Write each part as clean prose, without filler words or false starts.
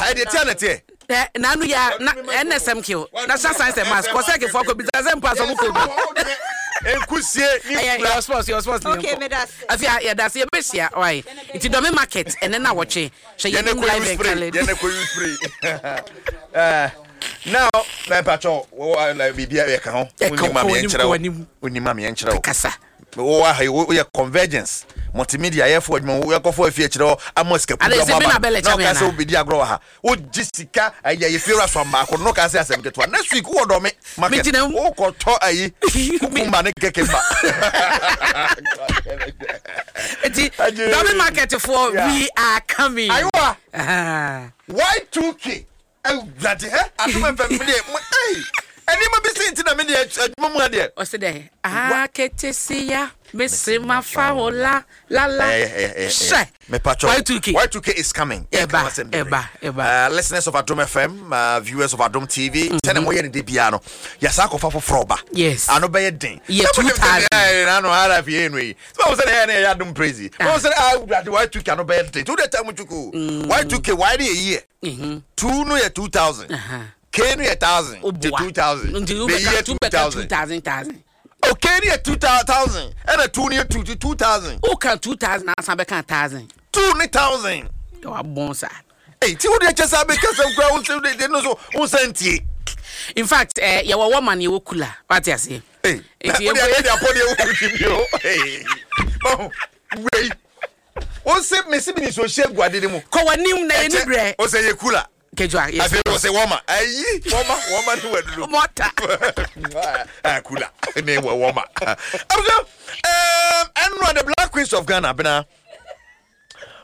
Ah, ɛdeɛ tia na teɛ. Ɛ n'ano yɛ a na NSM kill National Science and Maths kɔsɛk foɔ kɔ bisa sɛ mpo asɔfo kɔ bi. Nkusie ne Ɛyɛ nkura. yɛ sports yɛ sports ne Okay, yɛnkɔ. meda ase. Afei a yɛda ase yɛbɛhyia why nti Dɔme market ɛnɛ na wɔtwe hwɛ Yɛn yɛnim kɔ live use and spray. colored. Yɛn kɔ use spray. Eh, now na mpatsɔ wɔ wɔ biribi a yɛka ho. Ɛka Wonim ma kɔ meɛ anim, nkyerɛ kɔ wo. anim. Wonim ma meɛ nkyerɛ wo. Kasa. Wowɔ ha yi woyɛ convergence multimedia yɛfo adwuma wo yɛkɔfo afie akyerɛ hɔ ama sika Ade, kudu sɛ ama me na aba bɛlɛ na kyɛ me ɔka sɛ anaa? wobɛdi agorɔ wɔ ha wogye sika ɛyɛ yɛ fie wura sɔm baako no ka sɛ asɛm ketewa next week wowɔ dɔme market Megyina mu. wokɔtɔ ayi kukumba ne kekemba. Nti Agye. Dɔme market foɔ Yeah. we are coming. Ayiwa Ah. Y2K awurade hɛ adom fm deɛ mo ei nneɛma bi si nti na me deɛ adwuma mu adeɛ. Ɔsɛ dɛ aketesia mese mafa wo la la la hyɛ Mepacho Y2K. Y2K is coming. Ɛba, Yɛka ho asɛm bebree. ɛba, ɛba. Listeners of Adom FM, viewers of Adom TV, sɛnea moyɛ no da biara no, yɛsan akɔfa foforɔ ba. Yes. Ano bɛyɛ den. Yɛ Sɛ monim sɛ 2000. deɛ ɛyɛ no, ano RF yɛ no yi. Sɛ mohu sɛ deɛ ɛyɛ no yɛyɛ Adom praise yi. Mohu sɛ ah, Awurade Y2K ano bɛyɛ den. Nti wode time twuku. Y2K, Y no yɛ year. 2 no yɛ 2000. K no yɛ 1000. Nti 2000. Nti The year wobɛka 2000 2000. 2000 thousand. Oh, K no yɛ 2000. Ɛna 2 no yɛ 2, nti 2000. Woka 2000 asan bɛka 1000. 2 ne 1000. Wabɔn saa. Ei, ti wo deɛ kyɛ sɛ abɛka sɛm koraa wo nsɛm de no so wo nsa ntie. In fact, eh, yɛwɔ wɔma no yɛwɔ kula. Wate aseɛ? Ei, Nti wo deɛ yɛnkɔ adeɛ de apɔ deɛ wo ti bi o. Ei, mahu, wei. Wo se me se me ni so hyɛ gu ade ne mu. Kɔ w'anim na yɛni berɛ. Wo sɛ yɛ kula. Kejuwa, yes. Afei wo sɛ wɔma. Ayi, wɔma, wɔma ne waduro. Mɔta. Ah, kula ne wɔ wɔma. Abusua, um, ɛnora the Black Queens of Ghana bena.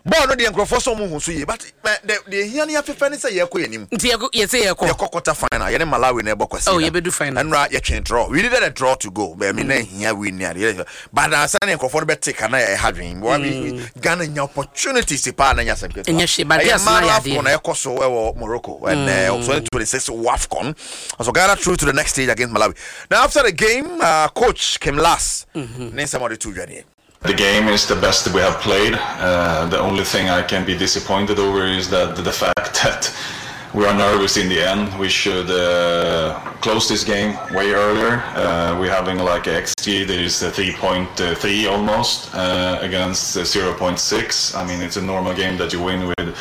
Bɔɔl no deɛ nkurɔfoɔ sɛ ɔmo hu so yie but deɛ ehia ne afefɛ ne sɛ yɛkɔ yɛn anim. Nti yɛkɔ yɛsɛ yɛkɔ. Yɛkɔ quarter final yɛne Malawi na ɛbɔ kwasi. Oh yɛbɛdu final. Ɛnora yɛtwe draw we needed a draw to go bɛmi na ehia win ne adeɛ but ansa ne nkurɔfoɔ no bɛte ka na ɛha dwen. Mm. Ghana nya opportunities paa na nya asɛm ketewa. Ɛnyɛ hwee but girls na yɛ adeɛ. Ɛyɛ mmaa no AFCON na ɛkɔ so ɛwɔ Morocco and 2026 WAFCON. So Ghana through to the next stage against Malawi. Now after the game coach Kim Lars ne nsɛm a ɔde to dwa nie. The game is the best we have played. The only thing I can be disappointed over is that the fact that we are nervous in the end. We should close this game way earlier. We're having like XG that is 3.3 almost against 0.6. I mean, it's a normal game that you win with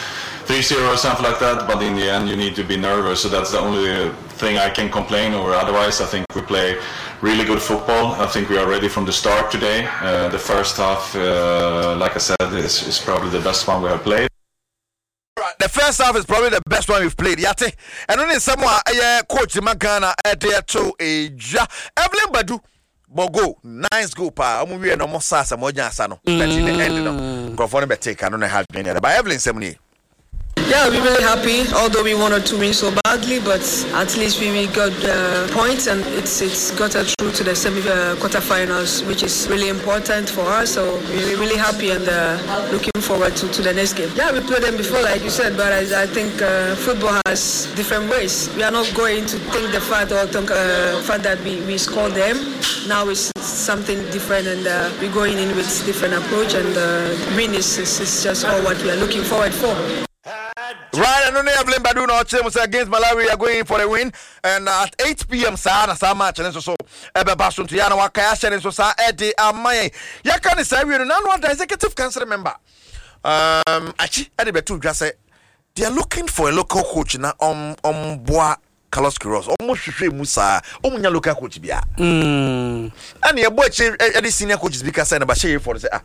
3-0 or something like that, but in the end you need to be nervous. So that's the only thing I can complain over. Otherwise, I think we play really good football. I think we are ready from the start today. The first half, like I said, is probably the best one we have played. The first half is probably the best one we've played. Yate. Ɛno ne nsɛm a ɛyɛ coach ma Ghana ɛde ɛto edwa. Evelyn Badu bɔ goal, nice goal paa. Ɔmo wie no ɔmo sa asɛm ɔgya asa no. But in the end no, nkurɔfoɔ no bɛtee ka no na ɛha adwene ne ade. But Evelyn nsɛm nie. Yeah, we're really happy, although we wanted to win so badly, but at least we, we got the points and it's it's got us through to the semi quarterfinals, which is really important for us. So we're really happy and looking forward to, to the next game. Yeah, we played them before, like you said, but I, I think football has different ways. We are not going to think the fact or think fact that we, we scored them. Now it's something different and we're going in with different approach and win is, is, is just all what we are looking forward for. Right, ɛno ne Evelyn Badu na ɔkyerɛ mu sɛ against Malawi we are going for the win and at 8 pm saa na saa match no nso so ɛbɛba so nti yɛ na wakae ahyɛ ne nso saa ɛde ama yɛn yɛka ne saa wie no nano ada executive council member akyi ɛde bɛto dwa sɛ they are looking for a local coach na ɔm ɔmboa Carlos Queiroz ɔmo hwehwɛ mu saa ɔmo nya local coach bia ɛna yɛbɔ akyire ɛde senior coaches bi kasa na bahyɛ yɛ fɔ no sɛ ah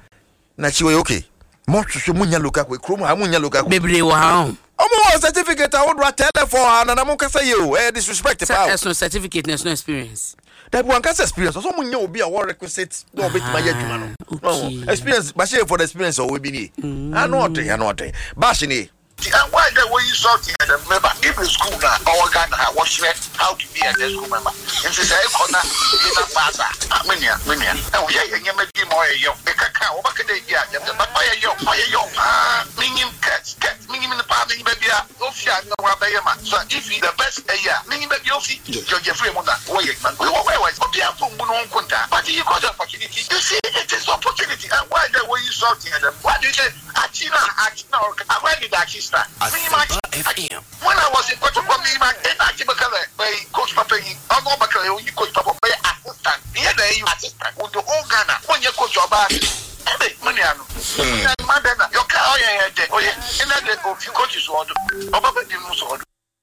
na akyi wɔyɛ okay mo hwehwɛ mo nya local coach kurom ha mo nya local coach bebree wɔ ha o. Ɔmo wɔ certificate ahodoɔ atɛlɛfɔ ha na na mo kasa yie o ɛyɛ disrespect paa o. Sɛ ɛsono certificate na ɛsono experience. Dabi wankasa experience ɔsɛ ɔmo nya obi a ɔwɔ requisite na ɔbɛtumi ayɛ adwuma no. Ah, okay. Experience bahyɛ yɛ for the experience ɔwɔ bi nie. Ano ɔden ano ɔden bash nie. Ntsi why dɛ woyi salt yɛ dɛm meba even skuul no a ɔwɔ Ghana ha wɔkyerɛ how to be a dɛ skuul member ntsi sɛ ekɔ na bi na pass a ah me nua me nua ehu yɛyɛ ndzɛmba bi ma ɔyɛ yaw mekɛkã a wɔbɛka dɛ bi a dɛm dɛm but ɔyɛ yaw ɔyɛ yaw paa minyim Kurt Kurt minyim no paa minyim beebi a ofi a nna ɔabɛyɛ ma so a if he the best eyi a minyim beebi a ofi George Afriyie mu na wɔyɛ edwuma no wɔ wɔ wɔ obiara mpo mmbu no ho nkontaa but he got the opportunity you see it is opportunity and why dɛ woyi salt yɛ dɛm why do you say Akyi na akyi na ɔreka. Akwa de da akyi sra. Menyim akyi. FM. When I was in Kotoko me ma ɛna akyi bɛka dɛ bɛyi coach papa yi ɔno ɔbɛka dɛ oyi coach papa ɔbɛyɛ assistant yɛ na ɛyi assistant with the whole Ghana wonyɛ coach ɔbaa ɛbɛ me nua no me nua no ma dɛ na yɔka ɔyɛ yɛ dɛ ɔyɛ ɛna dɛ ofi coaches wɔ do ɔba bɛ di mu so ɔdo.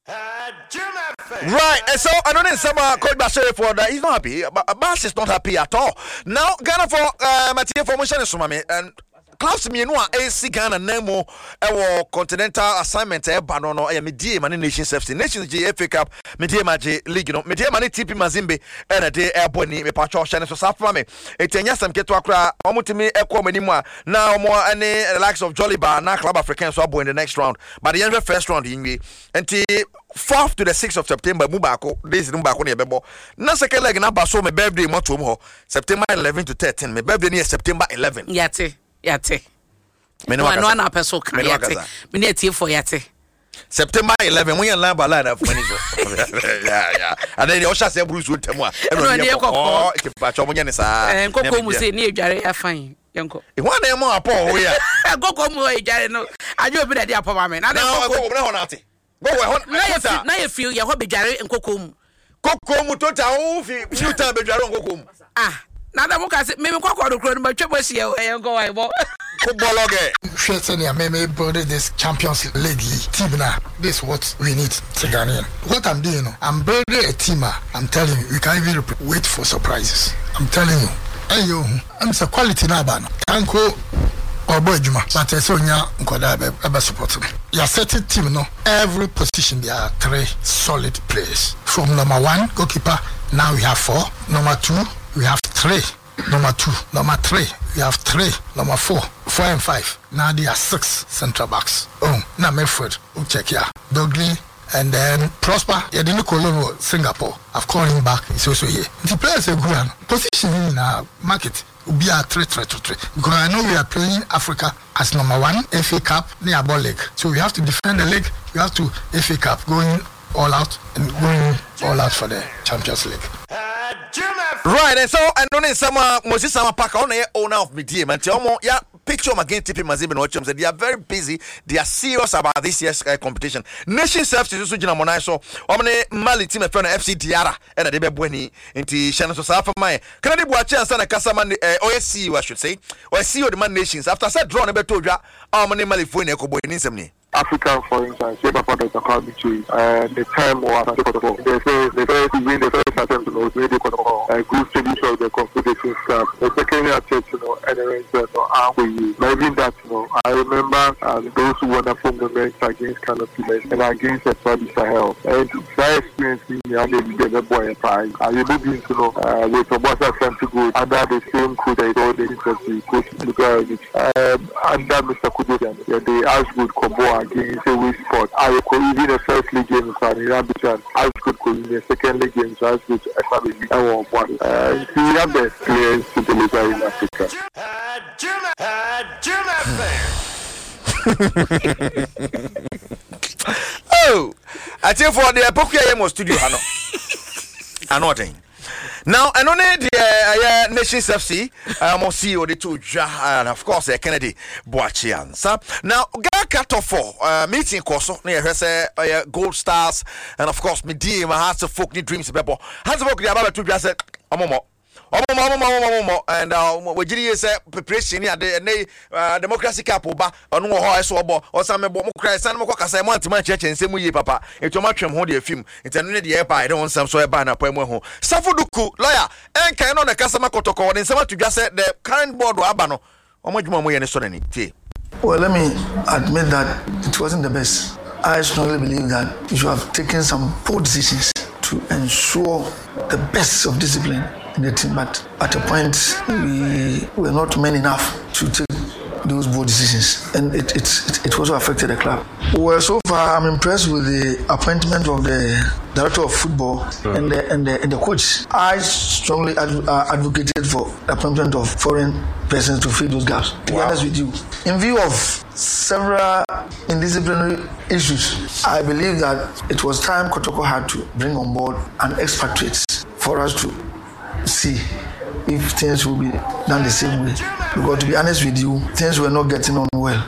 Right, and so I don't know some coach Bashir for that he's not happy. Bash is not happy at all. Now Ghana for Matia for Mushan Sumami and Clubs mmienu a ɛresi Ghana nan mu wɔ continental assignment a ɛba no no yɛ Medeama ne Nations FC. Nations gye FA Cup, Medeama gye league no. Medeama ne TP Mazembe ɛna ɛde ɛrebɔ ani. Mepatwɔ hyɛ no so saa fama me. Eti ɛnyɛ asɛm ketewa koraa. Wɔn tumi ɛkɔ wɔn anim a na wɔn ɛne the likes of Joliba na Club Africain nso abɔ in the next round. But yɛnhwɛ first round yi nwie. Nti fourth to the sixth of September mu baako days no mu baako na yɛbɛbɔ. Na second leg no aba so me birthday mu atom hɔ. September 11 to 13 me birthday no yɛ September 11. Yate yate. Mene wakasa. Ano apɛ so ka yate. Mene atiefo yate. September 11 mo yɛ line by line afuma ni so. Yeah yeah. Ade deɛ ɔhyɛ ase aburu nsuo ntɛm a ɛna ɔde yɛ kɔkɔɔ. Nti mpakyɛ ɔmo nyɛ ne saa. Eh, nkɔkɔɔ mu se ne edware afan yɛnkɔ. Ehun ana ɛmo apɔ ɔho yɛ. Nkɔkɔɔ mu edware no adwe obi na ɛde apɔ ma me. Na nkɔkɔɔ mu na hɔ na ate. Go wɔ hɔ na yɛ na yɛ fi yɛ hɔ bedware nkoko mu. Koko mu total wo fi few time bedware nkoko mu. Ah na na mo ka se me me kɔkɔ no kuro no matwa mo ahyia o ɛyɛ nkɔ wa ɛbɔ. Ko bɔlɔgɛ. Hwɛ sɛnea me me build this champions league yi team no a this what we need sɛ Ghanaian what I'm doing no I'm building a team a I'm telling you we can even wait for surprises I'm telling you ɛnyɛ ohu ɛm sɛ quality no aba no Tanko ɔbɔ adwuma but ɛsɛ onya nkwadaa bɛ ɛbɛ support no yɛasɛte team no every position there are three solid players from number one goalkeeper now we have four number two we have three number two number three we have three number four four and five now there are six central backs oh na midfield o check ya Dogly and then Prosper yɛde no kɔ loan wɔ Singapore I've called him back he's also here nti players egu ha no position no nyinaa market obiara tre tre tre tre because I know we are playing Africa as number one FA Cup ne yɛabɔ league so we have to defend the league we have to FA Cup going all out and going all out for the Champions League. Right, and so ɛno ne nsɛm a Moses Sama Parker ɔno na yɛ owner of Medeɛ ma nti ɔmo ya picture ɔmo against TP Mazembe na ɔkyerɛ sɛ they are very busy, they are serious about this year's uh, competition. Nation Services nso gyina ɔmo nan so, ɔmo ne Mali team ɛfɛ no FC Diarra ɛna de bɛbɔ ani nti hyɛ no so saa fama yɛ Kennedy Boakye ansa na kasa ma eh, ɔyɛ CEO I should say ɔyɛ CEO de ma Nations after sɛ draw no bɛtɔ odwa a ɔmo ne Malifoɔ nyinaa ɛkɔbɔ ani nsɛm nie. Africa for instance, yɛ papa Doctor Kwame Kyei, eh, ne time wɔ Asante Kɔtɔkɔ, the first, the first, even the first attempt no, otumi de Kɔtɔkɔ eh, group stages of the Confederations Cup. The second attempt no, ɛna ɛyɛ sɛ no, ankɔ yie. But even that no, I remember um, those wonderful moments against Kano Pillars and against Etoile du Sahel. And saa experience yi nyinaa na ebi deɛ ɛbɛboa yɛn paa. Ayɛbɔ bi nso no, uh, with Obuasi Asante Gold under the same coach that is all the interview, Coach Lugarovic. Um, under Mister Kojo Gyan, yɛde Ashgold kɔbɔɔ against Away Sport a yɛkɔ even the first league game koraa no yɛn abɛtua no Ashgold kɔ win yɛn second league game nso Ashgold ɛsan bɛ win ɛwɔ Ɔboase. Uh, nti we have the players to deliver in Africa. Oh, atiefoɔ deɛ pokua yɛ mɔ studio ha no ano ɔden. Now ɛno ne deɛ ɛyɛ Nations FC wɔn CEO de to dwa and of course ɛyɛ Kennedy Boakye Ansa. Now Ghana Tɔfɔ uh, meeting kɔ so na yɛhwɛ sɛ ɛyɛ Gold Stars and of course medie ma Hearts of Folk ne Dreams bɛbɔ. Hearts of Oak de aba bɛto dwa sɛ wɔn mmɔ wɔn mmɔ wɔn mmɔ wɔn mmɔ and uh, wɔgyiri yie sɛ preparation ne ade ɛnɛ yi uh, Democracy Cup ba Ɔno wɔ hɔ a ɛso ɔbɔ, ɔsan mebɔ, mo koraa ɛsan mo kɔ kasa mo antumi ankyerɛkyerɛ nsɛm mu yie papa, nti ɔmo atwe mo ho de afi mu, nti ɛno ne deɛ ɛba a yɛde ho nsɛm so ɛba anapa yi mu ɛho. Safo Duku, lawyer, ɛnka ɛno na ɛkasa ma Kɔtɔkɔ, ɔde nsɛm ato dwa sɛ the current board a aba no, wɔn adwuma a wɔyɛ no sɔ n'ani. Tie. Well, let me admit that it wasn't the best. I strongly believe that you should have taken some bold decisions to ensure the best of discipline in the team, but at a point we were not men enough to take those bold decisions, and it, it, it, also affected the club. Well, so far I'm impressed with the appointment of the director of football mm. and the and the and the coach. I strongly adv- advocated for the appointment of foreign persons to fill those gaps. To wow. be honest with you, in view of several indisciplinary issues, I believe that it was time Kotoko had to bring on board an expatriate for us to see if things will be done the same way. Because to be honest with you, things were not getting on well.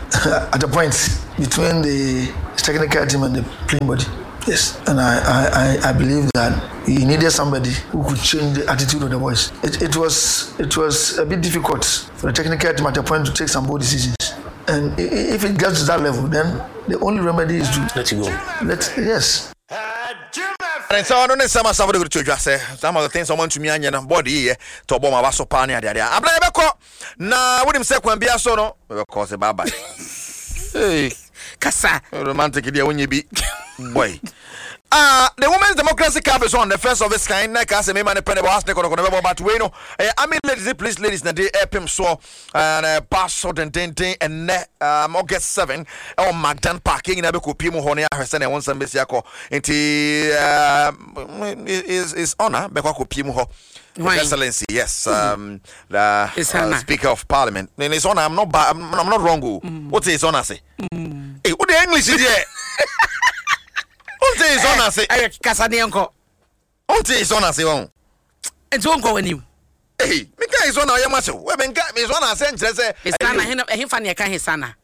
At a point, between the technical team and the playing body. Yes, and I, I, I, I believe that he needed somebody who could change the attitude of the boys. It, it was it was a bit difficult for the technical team at a point to take some bold decisions. And if it gets to that level, then the only remedy is to let it go. Let yes. And so ɔno ne nsɛm asafo de to dwa sɛ some of the things ɔmo ntumi anyɛ no bɔɔde yiyɛ tɔ bɔ ma aba so paa ne adeadeɛ abena yɛbɛkɔ na wonim sɛ kwan bia so no mebɛkɔ sɛ bye bye hey. Kasa romantic deɛ wonyɛ bi boy Ah, the Women's Democracy Cup is on the first of its kind. Na ka sɛ mema ne pɛ ne bɔ ase ne kɔnɔkɔnɔ bɛbɔ but wei no ɛyɛ Army ladies ne police ladies na de ɛpem soɔ and ɛba so dendenden ɛnɛ um, August 7 ɛwɔ Magdan Park yɛn nyinaa bɛkɔ pie mu hɔ ne ahwɛ sɛ na ɛho nsɛm bɛsi akɔ nti um, is is honor bɛkɔ akɔ pie mu hɔ His Excellency, yes, um, the Speaker of Parliament. In His Honor, I'm not, ba- I'm, I'm not wrong. Oh. What is His Honor say? Hey, what the English is here? What is His Honor say? Eh, kasa ne yɛnkɔ. What is His Honor say? Oh. Nti wonkɔ w'anim. Hey, meka His Honor, ɔyɛ ma sɛ, wɛ menka His Honor sɛ nkyerɛ sɛ. His Honor, ɛhefa ne yɛka His Honor?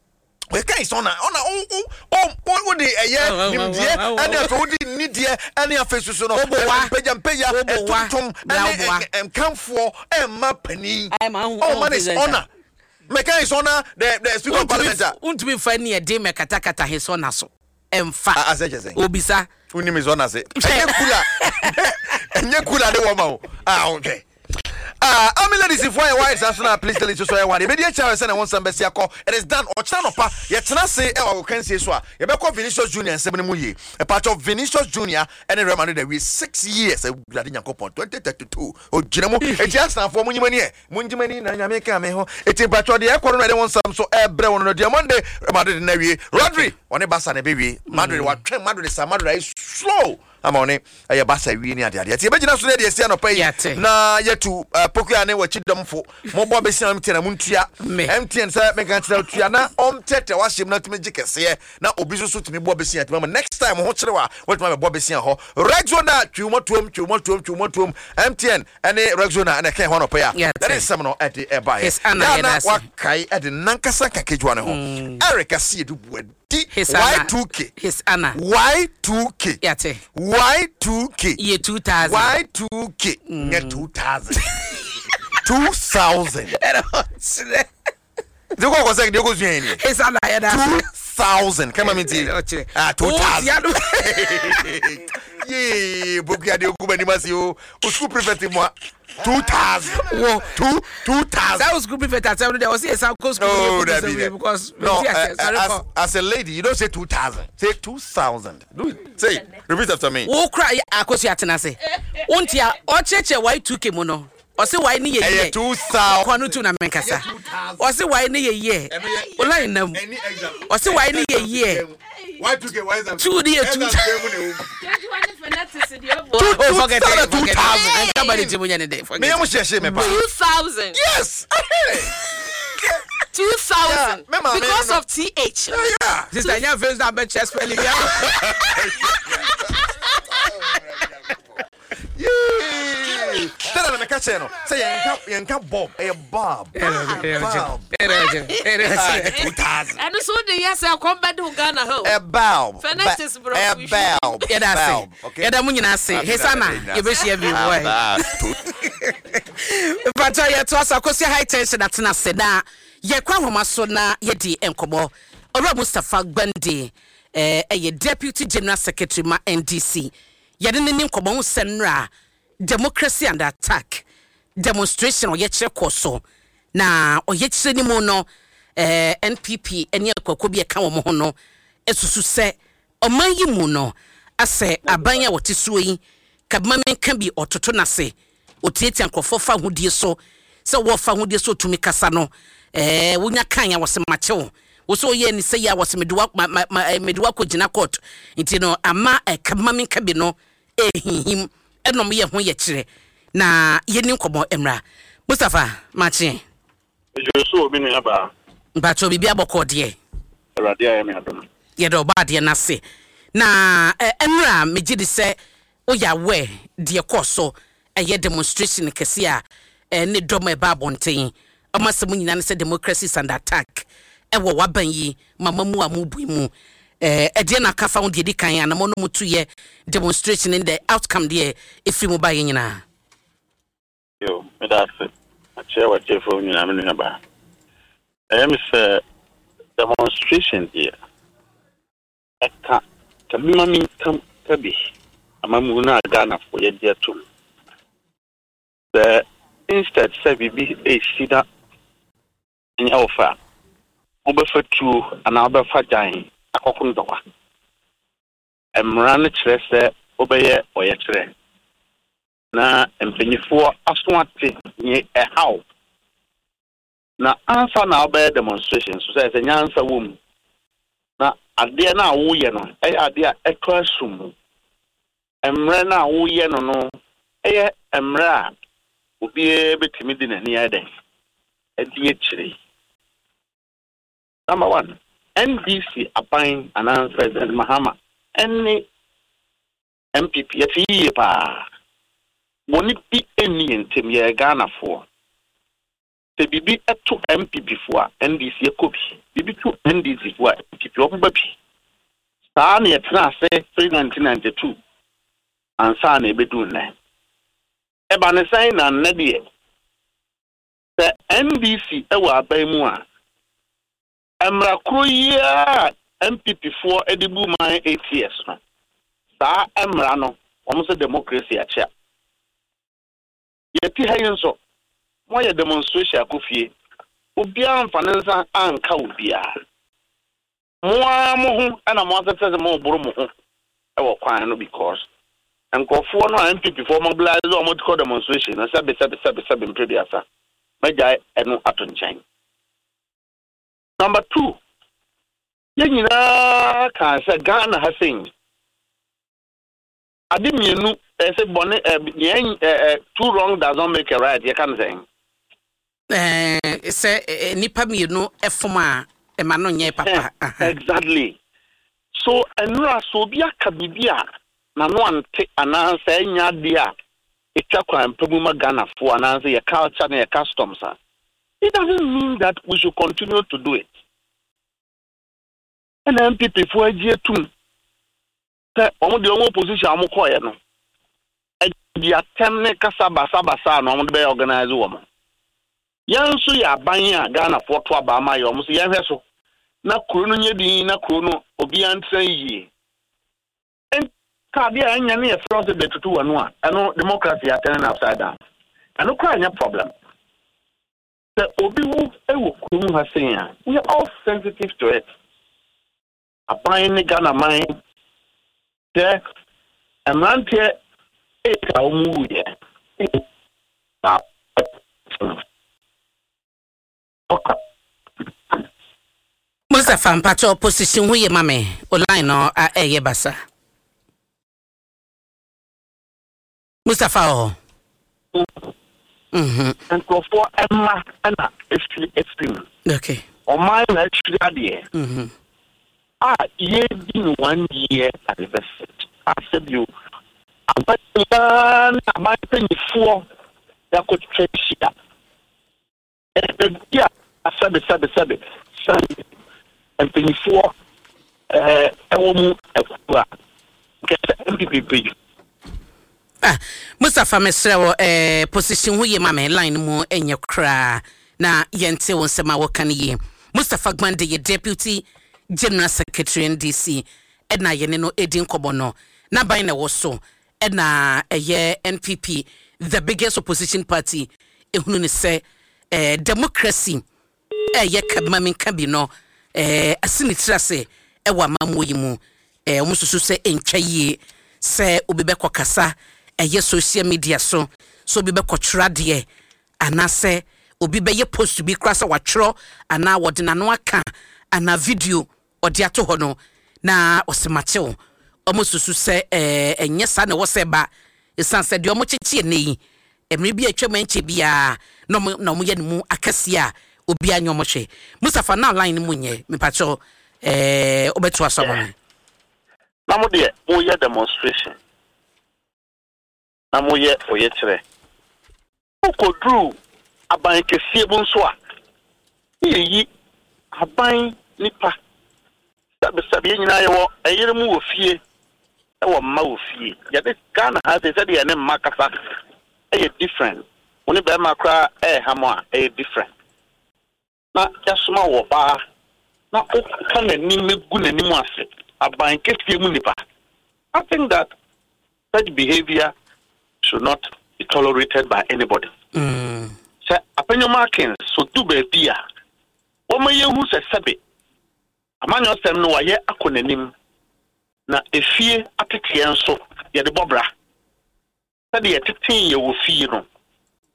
Wɔka yi sɛ ɔna ɔna o o o o o de ɛyɛ nimdeɛ ɛne afei wode nnideɛ ɛne afei soso no mpagya mpagya ɛtontom ɛne nkamfoɔ ɛmma panin ɔma ne ɔna mɛka yi sɛ ɔna the the speaker of parliament a. Wontumi nfa ni ɛde mɛkatakata his ɔna so ɛnfa. Asɛ kyɛ sɛ. Obisa. Wonim his ɔna se ɛnyɛ kula ɛnyɛ kula de wɔma o a ɔhwɛ. Ah, Army ladies foɔ yɛ wise aso na police ladies nso yɛ wise. Yɛbɛdi akyire ahwɛ sɛnea wɔn nsɛm bɛsi akɔ. It is done. Ɔkyena anɔpa, yɛtena ase wɔ agokansie so a, yɛbɛkɔ Vinicius Junior nsɛm no mu yie. Ɛpakyɛw, Vinicius Junior ne Real Madrid awie 6 years. Awurade Nyankopɔn, 2032, ogyina mu. Eti Arsenalfoɔ, monyi mo ani ɛ. Mongye mo ani na Nyame ka me ho. Eti mpakyɛw, deɛ ɛkɔ no na yɛde wɔn nsɛm so ɛrebrɛ wɔn no. Deɛ Monday, Real Madrid na awie. Rodri, ɔne Barca na ɛbɛwie. Madrid, watwɛn Madrid saa, Madrid ayɛ slow. Ama ɔne ɛyɛ basa wie ne adeadeɛ nti yɛbɛgyina so na yɛde asi anɔpa yi na yɛtu uh, pokua ne wakyi dɔmfo mobɔ bɛsia mtn a montua mtn sɛ menka kyerɛ tua na ɔmtɛtɛ wahyɛ mu na tumi gye kɛseɛ na obi nso so tumi bɔ bɛsia tumi ama next time ho kyerɛ wa watumi abɛbɔ bɛsia hɔ Rexona twiwmɔtuom twiwmɔtuom twiwmɔtuom mtn ɛne Rexona ɛna ɛka ɛho anɔpa yi a yɛde nsɛm no ɛde ɛbaeɛ yɛna wakae ɛde nankasa nkakedwa ne ho mm. Eric Asiedu Buadi Di His Anna. Y2K. His Anna. Y2K. Yate. Y2K. Yɛ 2000. Y2K. Nyɛ 2000. 2000. Ɛna ɔkyerɛ. Nti kɔ kɔ sɛ deɛ kɔ sua yɛ ni. His Anna yɛ da. 2000. Kama mi ti. Ɔkyerɛ. Ah 2000. Ɔtia no. Yee bokuya deɛ ogu m'anim ase o. O school prefect mu a. 2000. Wo. Two 2000. Saa school prefect asɛm no deɛ ɔsi yɛ san kɔ school. No, that be because no. As, as a lady, you don't say 2000. Say 2000. Do it. Say it. Repeat after me. Wo kura akosi atena se. Wonti a ɔkyerɛkyerɛ Y2K mu no. Ɔsi Y ne yɛ yie. Ɛyɛ 2000. Kɔ no tu na menkasa. Ɔsi Y ne yɛ yie. Ola nam. Ɔsi Y ne yɛ yie. Y2K, Y is Two ne yɛ two. Two, Oh, forget it. two, Forget it. 2000. Anka ba ne ti mu nyɛ ne de. Forget Me it. am share me pa. 2000. Yes. 2000. Yeah, me maame Because no. of TH. Yeah. Sister, nya face na bɛ spelling ya. Yee. Tell them me catch no. Say yenka yenka Bob. Eh Bob. Bob. 2000. ɛno so wode yɛ sɛ kɔm bɛde wo Ghana hɔ. A bulb. Phonetics, bro. A bulb. Yɛda ase. Bulb. Okay. Yɛda mo nyinaa ase. Hesana, yɛbɛhyia bio. Why? Mpatɔ yɛtoa so akɔsi high tension atena ase na yɛkɔ ahoma so na yɛdi nkɔmmɔ. Owura Mustapha Gbande ɛyɛ Deputy General Secretary ma NDC. Yɛde ne ne nkɔmmɔ ho sɛ nnora democracy under attack demonstration ɔyɛkyerɛ kɔ so na ɔyɛkyerɛ ne mu no NPP ne akuakuo bi a ɛka wɔn ho no esusu sɛ ɔman yi mu no asɛ aban a wɔte soɔ yi kabema menka bi ɔtoto n'ase otiatia nkurɔfoɔ fa ahodie so sɛ wɔfa ahodie so otumi kasa no wonya kan a wɔsɛ makyew wosɛ ɔyɛ ni sɛ yɛ a wɔsɛ mede wa ma ma ma mede wa kɔ court nti no ama kabema menka bi no ehinhim ɛnɔm yɛ ho yɛ kyerɛ na yɛni nkɔmmɔ mmra. Mustapha, makye. Ɛdwo obi nua baa. Mpakyɛw, biribi abɔkɔ deɛ? Awurade ayɛ me adom. Yɛde ɔba adeɛ no ase na ɛnora megye di sɛ woyɛ aware deɛ kɔɔ so ɛyɛ demonstration kɛse a ne dɔm a ɛba abɔnten ɔmo asɛm nyinaa ne sɛ democracy is under attack. Ɛwɔ w'aban yi mama mu a mo bui mu eh, ɛdeɛ na aka fa ho deɛ ɛdi kan anamɔ no mo tu yɛ demonstration ne the outcome deɛ ɛfiri mu baeɛ nyinaa. Yo, meda ase. Makyerɛ w'atiefoɔ nyinaa, me nuabaa. Ɛyɛ me sɛ demonstration deɛ, ɛka ka bi ma menka ka bi amammuo no a Ghanafoɔ yɛgye atom. Sɛ instead sɛ biribi ɛresi na Ɛnyɛ wo fɛ a, wobɛfa tuo anaa wobɛfa gyan akɔko ntɔkwa. Mmara no kyerɛ sɛ wobɛyɛ ɔyɛkyerɛ na mpanyifoɔ aso ate nea ɛha wo. Na ansa na wobɛyɛ demonstration nso, sɛ sɛ nyansa wɔ mu na adeɛ no a woyɛ no yɛ adeɛ a ɛtɔ asom. Mmerɛ no a woyɛ no no yɛ mmerɛ a obiara bɛtumi de n'ani ayɛ dɛn? Adi akyire. Number one, NDC aban anaa President Mahama ne NPP yɛte yie paa. Bɔne bi nni yɛn ntam, yɛyɛ Ghanafoɔ. Sɛ biribi to NPP foɔ a, NDC ɛkɔ bi. Biribi to NDC foɔ a, NPP wɔn ba bi. Saa na yɛtena ase firi 1992 ansa na ɛbɛduru nnɛ. Ɛba ne sɛn na nnɛ deɛ, sɛ NDC wɔ aban mu a, mmara koro yi ara a NPP foɔ de bu man ATS no, saa mmara no, wɔn sɛ democracy akyea. Yɛte ha yi nso, moayɛ demonstration akɔ fie, obiara amfa ne nsa anka obiara. Mo ara mo ho na mo asɛsɛ sɛ moboro mo ho wɔ kwan no because nkurɔfoɔ no a NPP foɔ mobilise wɔn kɔ demonstration no sɛbe sɛbe sɛbe sɛbe mprɛduasa, mɛgyae ɛno ato nkyɛn. Number two, yɛn nyinaa kaa sɛ Ghana ha sei, Ade mmienu, ɛsɛ bɔne ɛ nea ɛ ɛ two wrong does not make a right, yɛka no sɛn? Ɛɛ sɛ nnipa mmienu fom a, ɛma no nyɛ papa. Exactly. So nnora sɛ obi aka biribi a n'ano ante anaasɛ ɛnyɛ adeɛ a ɛtwa kwan pa mu ma Ghanafoɔ anaasɛ yɛ culture ne yɛ customs a, it doesn't mean that we should continue to do it. Ɛna NPP foɔ agye atum sɛ wɔn deɛ wɔn opposition a wɔn kɔɔɛ no ɛde atɛm ne kasa basabasa na wɔn de bɛyɛ organize wɔn. Yɛn nso yɛ aban a Ghanafoɔ to aba ama yɛ wɔn so yɛnhwɛ so na kuro no nyɛ din na kuro no obiara ntena yie. Nka adeɛ a ɛnyɛ ne yɛfrɛ wo sɛ bɛtutu w'ano a ɛno democracy atɛne no upside down. Ɛno koraa nyɛ problem. Sɛ obi wu wɔ kurom ha sei a we are all sensitive to it. Aban ne Ghana man sɛ mmeranteɛ eight a wɔn wuiɛ na ɔka. Mustapha mpakyɛw position ho ye ma me o line no a ɛyɛ basa. Mustapha wɔ hɔ. Mhm. Nkurɔfoɔ mma na ɛfiri afiri mu. Okay. Ɔman na akyiri adeɛ. Mhm. A yɛredi no one year anniversary. A sɛbio aban nyinaa ne aban mpanimfoɔ yɛakɔtwa ahyia. Baabi a sɛbe sɛbe sɛbe sɛbe mpanimfoɔ ɛwɔ mu akuo a nkɛ sɛ NPP mpanyinfoɔ. Ah Mustapha mesrɛ wo eh, position ho ye ma me line no mu nyɛ koraa na yɛnte wo nsɛm a woka no yie. Mustapha Gbande yɛ Deputy General Secretary NDC ɛna yɛne no ɛdi nkɔmmɔ no. N'aban na ɛwɔ so ɛna ɛyɛ NPP the biggest opposition party ehunu ne sɛ eh, democracy ɛyɛ ka bi ma menka bi no eh, asi ne tiri ase ɛwɔ amammuo yi mu eh, wɔn susu sɛ ɛntwa yie sɛ obi bɛkɔ kasa ɛyɛ social media so sɛ obi bɛkɔ twerɛ adeɛ anaasɛ obi bɛyɛ post bi koraa sɛ watwerɛ anaa wɔde n'ano aka anaa video ɔde ato hɔ no na ɔse makyew. Ɔmo susu sɛ ɛɛ ɛnyɛ saa na ɛwɔ sɛ ɛba esiane sɛ deɛ ɔmo kyekye ɛnnɛ yi mmere bi a atwam ɛnkyɛ biara na ɔmo na ɔmo yɛ ne mu akɛseɛ a obiara nyɛ ɔmo hwɛ. Mustapha na line no mu nyɛ mepakyɛw ɛɛ wobɛtoa so ama me. Na mo deɛ moyɛ demonstration na moyɛ ɔyɛkyerɛ. Wokɔduru aban kɛseɛ mu nso a, ne yɛyi. Aban nipa, sɛbesɛbe yɛn nyinaa yɛwɔ ɛyere mu wɔ fie, ɛwɔ mma wɔ fie. Yɛde Ghana ha sei sɛdeɛ yɛne mma kasa ɛyɛ different. Wo ne bɛrima koraa ɛɛha mo a ɛyɛ different. Na yɛasoma wo ɔbaa na woka n'anim gu n'anim ase, aban kɛseɛ mu nipa. I think that such behavior should not be tolerated by anybody. Sɛ Apenyo Markins so du baabi a, wɔma yɛhu sɛ sɛbe amanyɔsɛm no wayɛ akɔ n'anim, na efie ateteɛ nso yɛde bɔ bra. Sɛdeɛ yɛtetee yɛ wɔ fie no,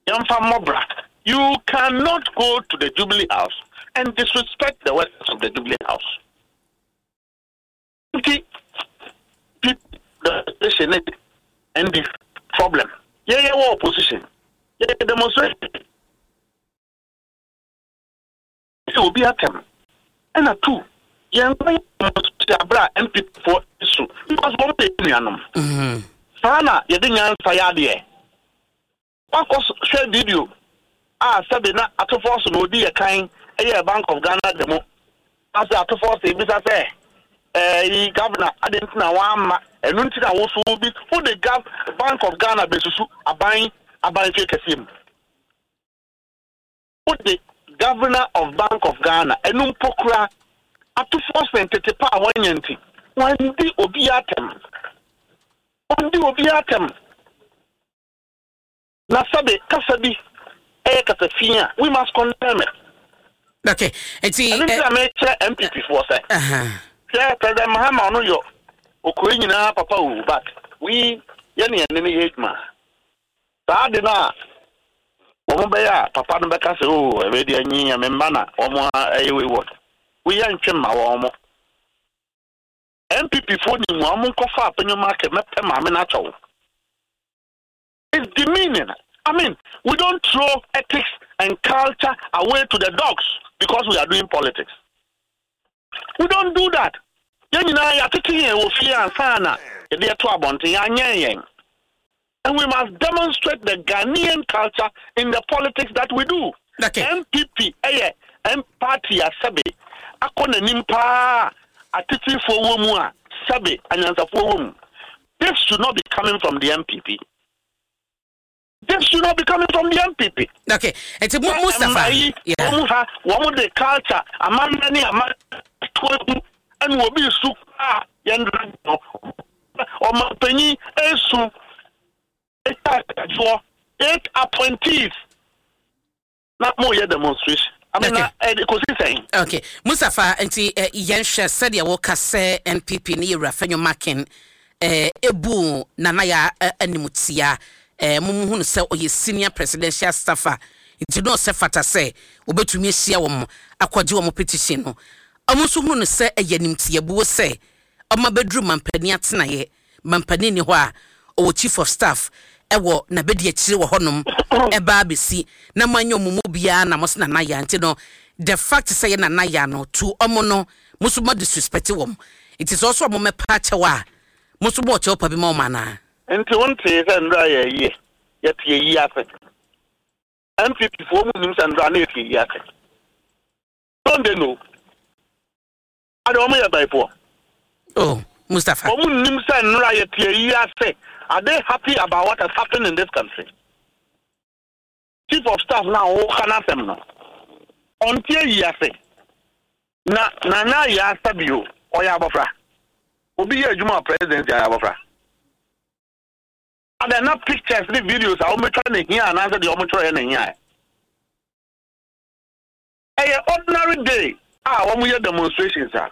yɛmfa mmɔ bra. You cannot go to the Jubilee House and disrespect the workers of the Jubilee House. Nti, the opposition ne NDC problem. Yɛyɛ wɔ opposition. Yɛyɛ demonstration. Sɛ obi atɛm. Ɛna two, yɛn kɔ yɛ demonstration abere a NPP foɔ su because wɔn yɛ nuanom. Saa na yɛde nyansa yɛ adeɛ. Wakɔ hwɛ video a sɛbe na Ato Forson na odi yɛ kan yɛɛ Bank of Ghana demo ase Ato Forson ebisa sɛ ɛyi governor adɛn nti na wamma ɛno nti na woso bi wode gov Bank of Ghana besusu aban aban fie kɛseɛ mu wode governor of Bank of Ghana ɛno mpo kora Ato Forson tete pa a wanya nti wandi obi atɛm wandi obi atɛm. Na sɛbe kasa bi yɛ kasa fi a, we must condemn it. Okay, nti. Ɛno nti na mekyerɛ NPP foɔ sɛ, hwɛ President Mahama ɔno yɔ okuro nyinaa papa o, but we yɛne yɛne no yɛ adwuma. Saa ade no a wɔn bɛyɛ a papa no bɛka sɛ o ɛbɛ deɛ nyi me mma na wɔn ɛyɛ wei wɔ. Woyɛ ntwe mma wɔn. NPP foɔ nim wɔn nkɔfa Apenyo Market mɛpɛ maame no akyɛw. It's demeaning. I mean, we don't throw ethics and culture away to the dogs because we are doing politics. We don't do that. Yɛn nyinaa yɛatete yɛn wɔ fie ansa na yɛde ɛto abɔnten, yɛanyɛn yɛn. And we must demonstrate the Ghanaian culture in the politics that we do. Okay. NPP ɛyɛ M party a sɛbe akɔ n'anim paa atetefoɔ wɔ mu a sɛbe anyansafoɔ wɔ mu. This should not be coming from the NPP. This should not be coming from the NPP. Okay. Eti mu Mustafa. Yeah. Wɔn ha wɔn de culture amammerɛ ne ama to egu ɛna obi su a yɛn no ɔmanpanyin esu etwa ɛsoɔ eight appointees. Na mo yɛ demonstration. I mean, na ɛde kosi sɛn? Okay, Mustapha, nti eh, yɛnhwɛ sɛdeɛ woka sɛ NPP ne Yɛwura Fenyo Makin eh, ebu Nana Yaa eh, animtia. Eh, mo muhu no sɛ ɔyɛ senior presidential staffer, nti na ɔsɛ fata sɛ wɔbɛtumi ahyia wɔn akɔgye wɔn petition no. Wɔn nso hunu no sɛ ɛyɛ animtiabuo sɛ wɔn abɛduru mampanin atenaeɛ Mampanin nni hɔ a ɔwɔ Chief of Staff wɔ n'abadiakyire wɔ hɔnom ɛba abɛsi na moanyɛ ɔmo mu biara na mose Nana Yaa nti no the fact sɛ yɛ Nana Yaa no to ɔmo no mo nso mo disrespect wɔn nti sɛ ɔsɛ ɔmo mɛpa akyɛw a mo nso mo wɔ kyɛw pa bi ma ɔmo anaa? Nti wo ntee sɛ ndra yɛ ayie? Yɛte ayie ase. NPP foɔ ɔmo nnim sɛ ndra na yɛte ayie ase. Don't they know? Ade wɔn yɛ bɛyifoɔ. Oh, Mustafa. Wɔn nnim sɛ nnora yɛ te ayi ase. Are they happy about what has happened in this country? Chief of staff na ɔka n'asɛm no, ɔnte ayi ase. Na Nana Yaa Sabio, ɔyɛ abɔfra. Obi yɛ adwuma wɔ presidency ayɛ abɔfra. Adɛn na pictures ne videos a wɔatwa na hia anaasɛ deɛ wɔtwerɛeɛ na hia? Ɛyɛ ordinary day a wɔn yɛ demonstrations a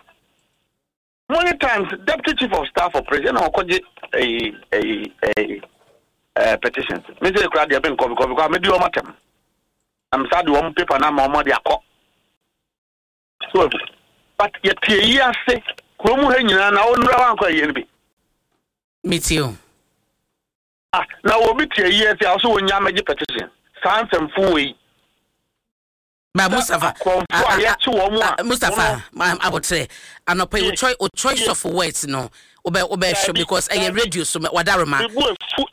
many times deputy chief of staff operation na ɔkɔgye ɛyi ɛyi ɛyi ɛɛ petitions mi sɛ ekura deɛ mi nkɔ because because mi di wɔn atɛm na mi sa de wɔn paper na ama wɔn de akɔ so but yɛte eyi ase kurom ha nyinaa na wɔn nura wankɔ ɛyɛ no bi. Mi ti o. Ah na obi te eyi ase a ɔsɛ wɔn nya amagye petition saa nsɛmfo wei. Ba Mustafa, akorɔmfo a yɛkye wɔn a. Mustafa, abotrɛ. Anɔpa yi, o choice of words no, wobɛ wobɛ hwɛ because ɛyɛ radio so wadaroma.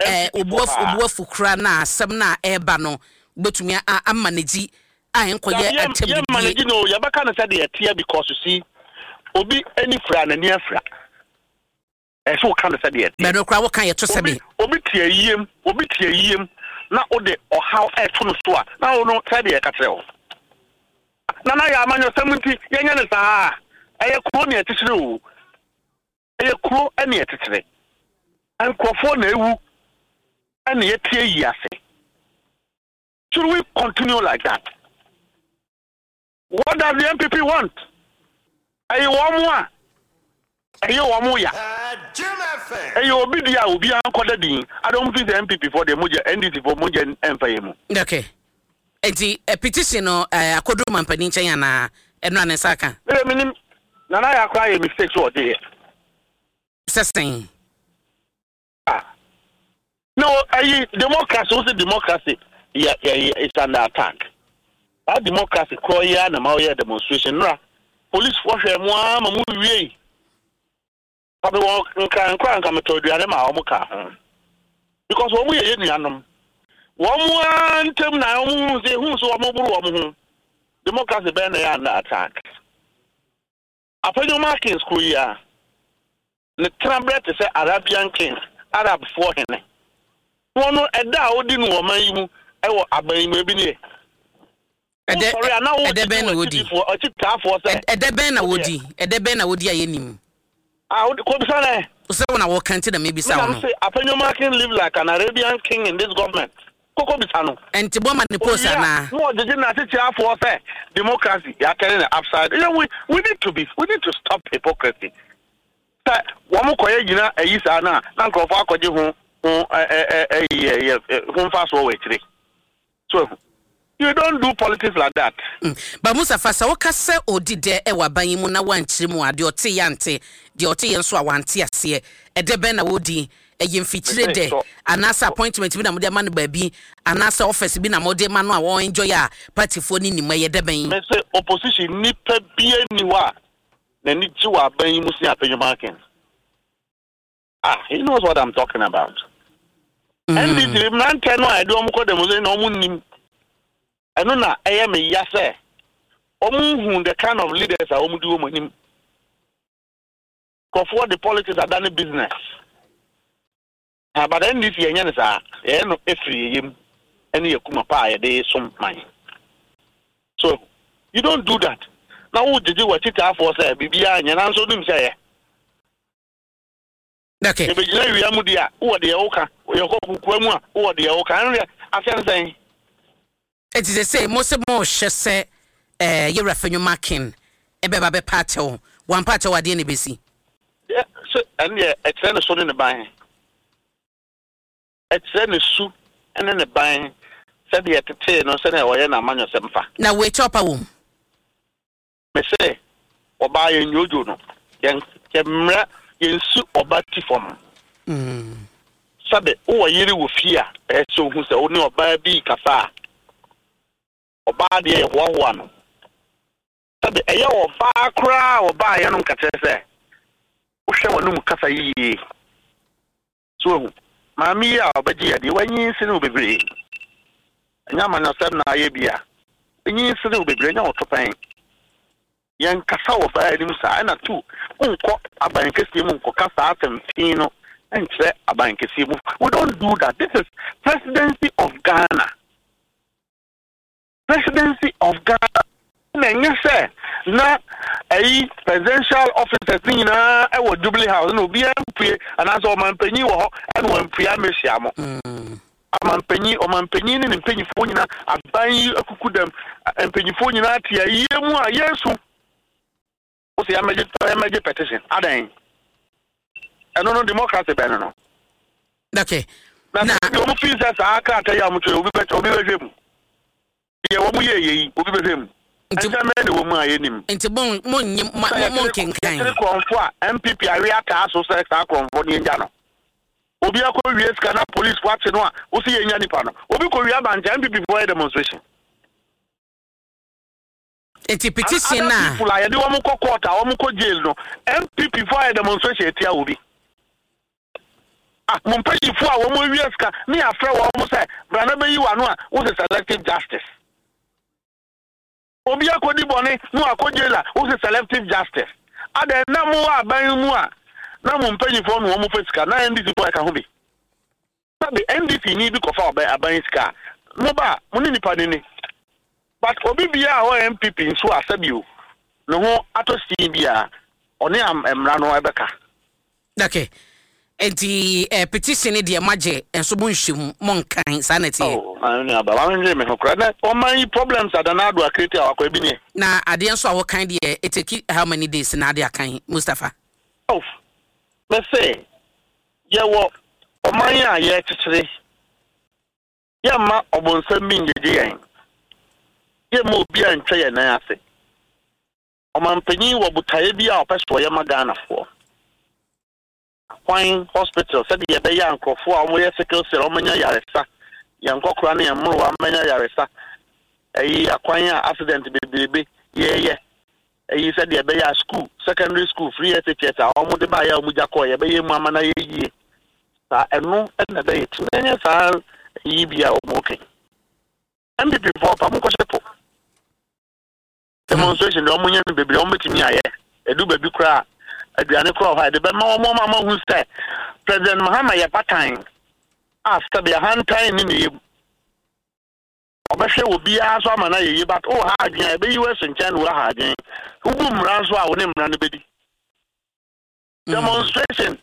Eh, obu afu obu afu kura na asɛm na ɛreba no, wobɛtumi ama ne gyi A ɛnkɔyɛ Dabi, yɛ atɛm yɛ didie. manage no, yɛbɛka no sɛdeɛ ɛteɛ because you see, obi ani fira n'ani afira. Ɛsɛ sɛ woka no sɛdeɛ ɛteɛ. Bɛno koraa woka yɛto Obi sɛbe. obi te ayiem, obi te ayiem na wode ɔhaw ɛto no so a, na wo no sɛdeɛ ɛka kyerɛ wo. Nana yɛ amanyɔsɛm nti yɛnyɛ no saa a, ɛyɛ kuro ne ɛkyekyere o. Ɛyɛ kuro ne ɛkyekyere. Nkurɔfoɔ na ɛwu ɛna yɛte ayi ase. Should we continue like that? What does the NPP want? Ɛyɛ wɔn a ɛyɛ wɔn ya. Ɛyɛ obi di a obiara nkɔda din. Adɔm fi sɛ NPP foɔ deɛ mogya NDC foɔ mogya ɛmfa yɛ mu. Okay. Nti eh, petition no eh, akɔduru mampanin nkyɛn anaa ɛno a ne nsa aka? Mede menim Nana yɛ akora yɛ mistake so ɔgye yɛ. Sɛ sɛn? Ah. No, ayi democracy, wo se democracy yɛ yɛ is under attack. Saa democracy korɔ yi ara na ma woyɛ demonstration nora. Police foɔ hwɛ mo ara ma mo wiei. Fa me wɔ nkran nkora nka metɔ aduane ma wɔn ka ho. Because wɔn yɛ yɛ nuanom. Wɔn ara ntam na wɔn hu sɛ ehu so wɔn boro wɔn ho. Democracy bɛn na yɛ under attack. Afenyo Kings kuro yi ara. Ne tenaberɛ te sɛ Arabian kings, Arabfoɔ hene. Wɔn no, ɛda a ɔdi no wɔ ɔman yi mu wɔ aban yi mu, ebi nie. Ɛdɛ Wosɔre a na ɛdɛ wogyegye bɛn na wodi? w'akyidifoɔ, akyitaafoɔ sɛ Ɛdɛ bɛn na wodeɛ. wodi? Ɛdɛ bɛn na wodi a yɛnnim? Ah, wode kɔbisa no ɛ. Sɛ wo na wɔka nti na Me mebisa na wo me no. se Afenyo King live like an Arabian king in this government. Kɔkɔ bisa no. Ɛnti bɔ ma ne post Owie a, anaa? na ɔgyegye n'akyekyɛafoɔ sɛ democracy, yɛatɛne no upside. You know, we need to be, we need to stop hypocrisy. Sɛ wɔn kɔyɛ gyina ayi saa no a, na nkurɔfoɔ akɔgye ho ho ɛ ɛ ɛ ɛ ho mfasoɔ wɔ akyire. So ahu. You don't do politics like that. Ba Mustafa, sɛ woka sɛ ɔdi dɛ wɔ aban yi mu na woankyerɛ mu a, deɛ ɔteeɛ ante, deɛ ɔteeɛ nso a wante aseɛ. Ɛdɛ bɛn na wɔredi? Ɛyɛ mfikyire Mese dɛ, sɔ anaasɛ appointment bi na mode ama no baabi, anaasɛ office bi na mode ma no a ɔ enjoy a partyfoɔ no nnim? Ɛyɛ dɛ bɛn? Mese opposition nipa biara nni hɔ a n'ani gye wɔ aban yi mu sen Afenyo Markins. Ah, he knows what I'm talking about. NDC mmeranteɛ no a yɛde wɔn kɔ demonstration na wɔn nnim. Ɛno na ɛyɛ me ya sɛ wɔn nhu the kind of leaders a wɔn di wɔn anim. Nkurɔfoɔ de politics adane business. Ah, but NDC yɛnyɛ no saa. Yɛyɛ no ɛfiri yɛ yam ɛne yɛ kuma pa a yɛde som man. So you don't do that. Na wo gyegye w'akyitaafoɔ sɛ biribiara nyɛ nanso wonim sɛ ɛyɛ. Okay. Yɛbɛgyina wia mu deɛ a, wowɔ deɛ woka. Yɛkɔ kokoa mu a, wowɔ deɛ woka. Ɛno deɛ, asɛm sɛn? Enti seesei mo se mohwɛ sɛ eh, Yɛwura Fenwoma Ken bɛba bɛpa akyɛw. Wampa akyɛw a, deɛn na ɛbɛsi? Deɛ, sɛ, ɛno deɛ, ɛkyerɛ ne so ne ne ban. Ɛkyerɛ ne su ne ne ban, sɛdeɛ ɛtetee no, sɛdeɛ ɔyɛ n'amanyɔsɛm fa. Na wei kyɛw pa wom? Mese ɔbaa yɛn dwodwo no, yɛn yɛmmrɛ yɛnsi ɔba ti fam. Sɛbe wowɔ yere wɔ fie a, ɛyɛ sɛ ohu sɛ wo ne ɔbaa bi rekasa a, ɔbaa deɛ yɛhoahoa no. Sɛbe ɛyɛ ɔbaa koraa a ɔbaa yɛnom ka kyerɛ sɛ wohwɛ w'anom kasa yiye. So wahu? Maame yi a ɔbɛgye yɛ deɛ wanyin sene wo bebree. Ɛnyɛ amanyɔsɛm na ayɛ bi a. Wanyin sene wo bebree, ɛnyɛ wo to pɛn. Yɛnkasa wɔ baa anim saa. Ɛna tu, wonkɔ aban kɛseɛ mu nkɔka saa asɛm fi no nkyerɛ aban kɛseɛ mu. We don't do that. This is presidency of Ghana. Presidency of Ghana na ɛnyɛ sɛ na ɛyi presidential officers ne nyinaa ɛwɔ Jubilee House na obiara mpue anaasɛ ɔmanpanyin wɔ hɔ ɛna wampue amɛhyia mo. Amanpanyin ɔmanpanyin ne ne mpanyinfoɔ nyinaa aban yi akuku dɛm mpanyinfoɔ nyinaa te ayie mu a yɛnsu. Wosɛ yɛmɛgye yɛmɛgye petition adɛn? Ɛno no democracy bɛn no no? Okay. Na sɛ bi wɔn fi sɛ saa krataa yi a wɔn twerɛ obi bɛ obi bɛhwɛ mu. Deɛ wɔn yɛ yɛ yi obi bɛhwɛ mu. Nti Nsɛm bɛn na ɛwɔ mu a yɛnim? Nti mo mo nye mo mo nkenkan. Yɛkyere korɔmfo a NPP awe ataa so sɛ saa korɔmfo no yɛngya no. Obi akɔ wie sika na police fo akye no a wosi yɛnya nipa no. Obi kɔ wie abankyɛ NPP fo yɛ demonstration. Nti petition Other na. people a yɛde wɔn kɔ court a wɔn kɔ jail no NPP fo ayɛ demonstration etia obi. Ah, mo mpanyinfo a wɔn awia sika ne yɛafrɛ wɔn sɛ bra na bɛyi w'ano a wose selective justice. Obi akɔdi bɔne na wakɔ jail a, wose selective justice. Adɛn na mowɔ aban mu a na mo mpanyinfoɔ no wɔn fa sika na NDC foɔ ɛka ho bi? Sɛbe NDC ni bi kɔfa ɔbɛn aban sika a, mo ba a, mo ne nipa no ni. But obi biara a ɔwɔ NPP nso a sɛbe o, ne ho atɔ sin biara, ɔne mmara no ɛbɛka. Okay. Nti eh, petition ne deɛ moagye nso monhwɛ mu monkan saa na ɛteɛ. Oh, maame nua ba, maame ndwene me ho koraa. Na ɔman yi problems a Nana Addo akreti a wakɔ ebi nie. Na adeɛ nso a wokan deɛ it take how many days na ade akan Mustapha? Oh, me se yɛwɔ ɔman a yɛrekyekyere, yɛmma ɔbonsam bi ngyegye yɛn, yɛmma obi a ntwa yɛn nan ase. Ɔmanpanyin wɔ botaeɛ bi a ɔpɛ sɛ ɔyɛ ma Ghanafoɔ. Akwan, hospital, sɛdeɛ ɛbɛyɛ a nkorɔfoɔ a wɔyɛ sickle cell wɔanya yaresa, yɛn nkɔkora ne yɛn mmerewa mmɛnya yaresa, ɛyi akwan a accident bebrebe yɛyɛ, ɛyi sɛdeɛ ɛbɛyɛ a school, secondary school, free SHS a wɔde baeɛ a wɔgya kɔɔ yɛbɛyɛ mu ama no ayɛ yie. Saa ɛno na ɛbɛyɛ ti na ɛnyɛ saa ɛyi bi a wɔka yi. NPP foɔ pa monkɔhyɛ po. Demonstration deɛ wɔnyɛ no bebree wɔbɛtumi ayɛ ɛdu baabi koraa aduane koraa wɔ hɔ a yɛde bɛma wɔn ama wɔahu sɛ President Mahama yɛ batan a sɛbi ahantan ne ne yam ɔbɛhwɛ wɔ biara so ama no ayɛ yie but oh ha adwene a ɛbɛyi wo aso nkyɛn na woaha adwene wobu mmara nso a wo ne mmara no bɛdi demonstration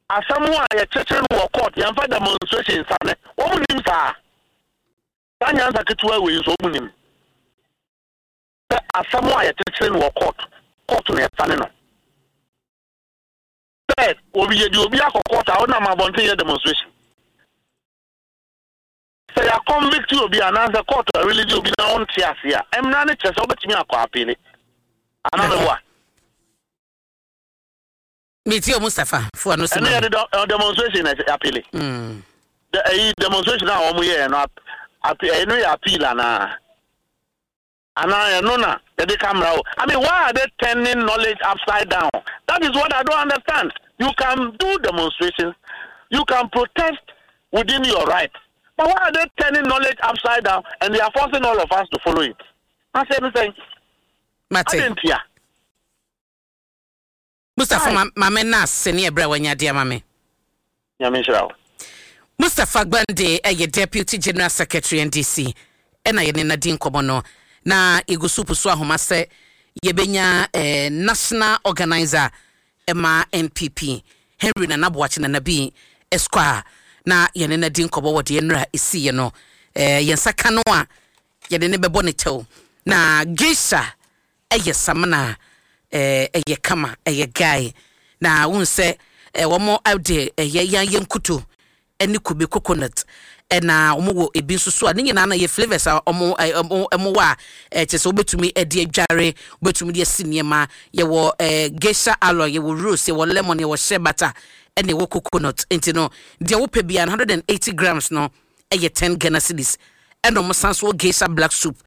asɛm a yɛkyekyere no wɔ court yɛmfa demonstration sane wɔn nim saa. Saa nyansa ketewa wei nso ɔmo nim sɛ asɛm a yɛkyekyere no wɔ court, court na yɛsane no. Sɛ obi yɛde obi akɔ court a ɔnam abɔnten yɛ demonstration. Sɛ yɛ convict obi anaasɛ court a release obi na ɔnte ase a, mmara no kyerɛ sɛ wobɛtumi akɔ appeal. Anaa meboa? Metie o Mustapha fo ano si ma. Ɛno yɛde demonstration na appeal. Mm. Ɛyi demonstration a wɔn yɛɛ no ɛno yɛ appeal anaa? Anaa ɛno na yɛde ka mmara o. I mean why are they turning knowledge upside down? That is what I don't understand. You can do demonstrations, you can protest within your right. But why are they turning knowledge upside down and they are forcing all of us to follow it? I say anything. Mate. Adɛn ntia? Mustapha ma ma me na ase ne ɛberɛ a wanya de ama me. Nyame nhyira wo. Mustapha Gbande yɛ Deputy General Secretary NDC ɛna yɛne no adi nkɔmmɔ no. Na yɛgu so pusu ahoma sɛ yɛbɛnya eh, National Organiser ɛma NPP Henry Nana Boakye Nana Bi Esquire na yɛne no adi nkɔmmɔ wɔ deɛ nnora ɛsiiɛ no. Eh, yɛn nsa ka no a yɛde no bɛbɔ ne kyɛw. Na Geisha ɛyɛ samina a ɛyɛ kama, ɛyɛ guy. Na wohu sɛ wɔn de ɛyɛ yan yɛ nkuto ɛne kube coconut ɛna wɔn wɔ ebi nso so a ne nyinaa no yɛ flavours a wɔn wɔn wɔ a ɛkyɛ sɛ wobɛtumi ɛde adware, wobɛtumi de asi nneɛma. Yɛwɔ ɛɛ geisha aloe, yɛwɔ rose, yɛwɔ lemon, yɛwɔ shea butter ɛna ɛwɔ coconut. Nti no deɛ wopɛ biara no 180 grams no ɛyɛ 10 Ghana cedis ɛna ɔmo san so wɔ Geisha black soup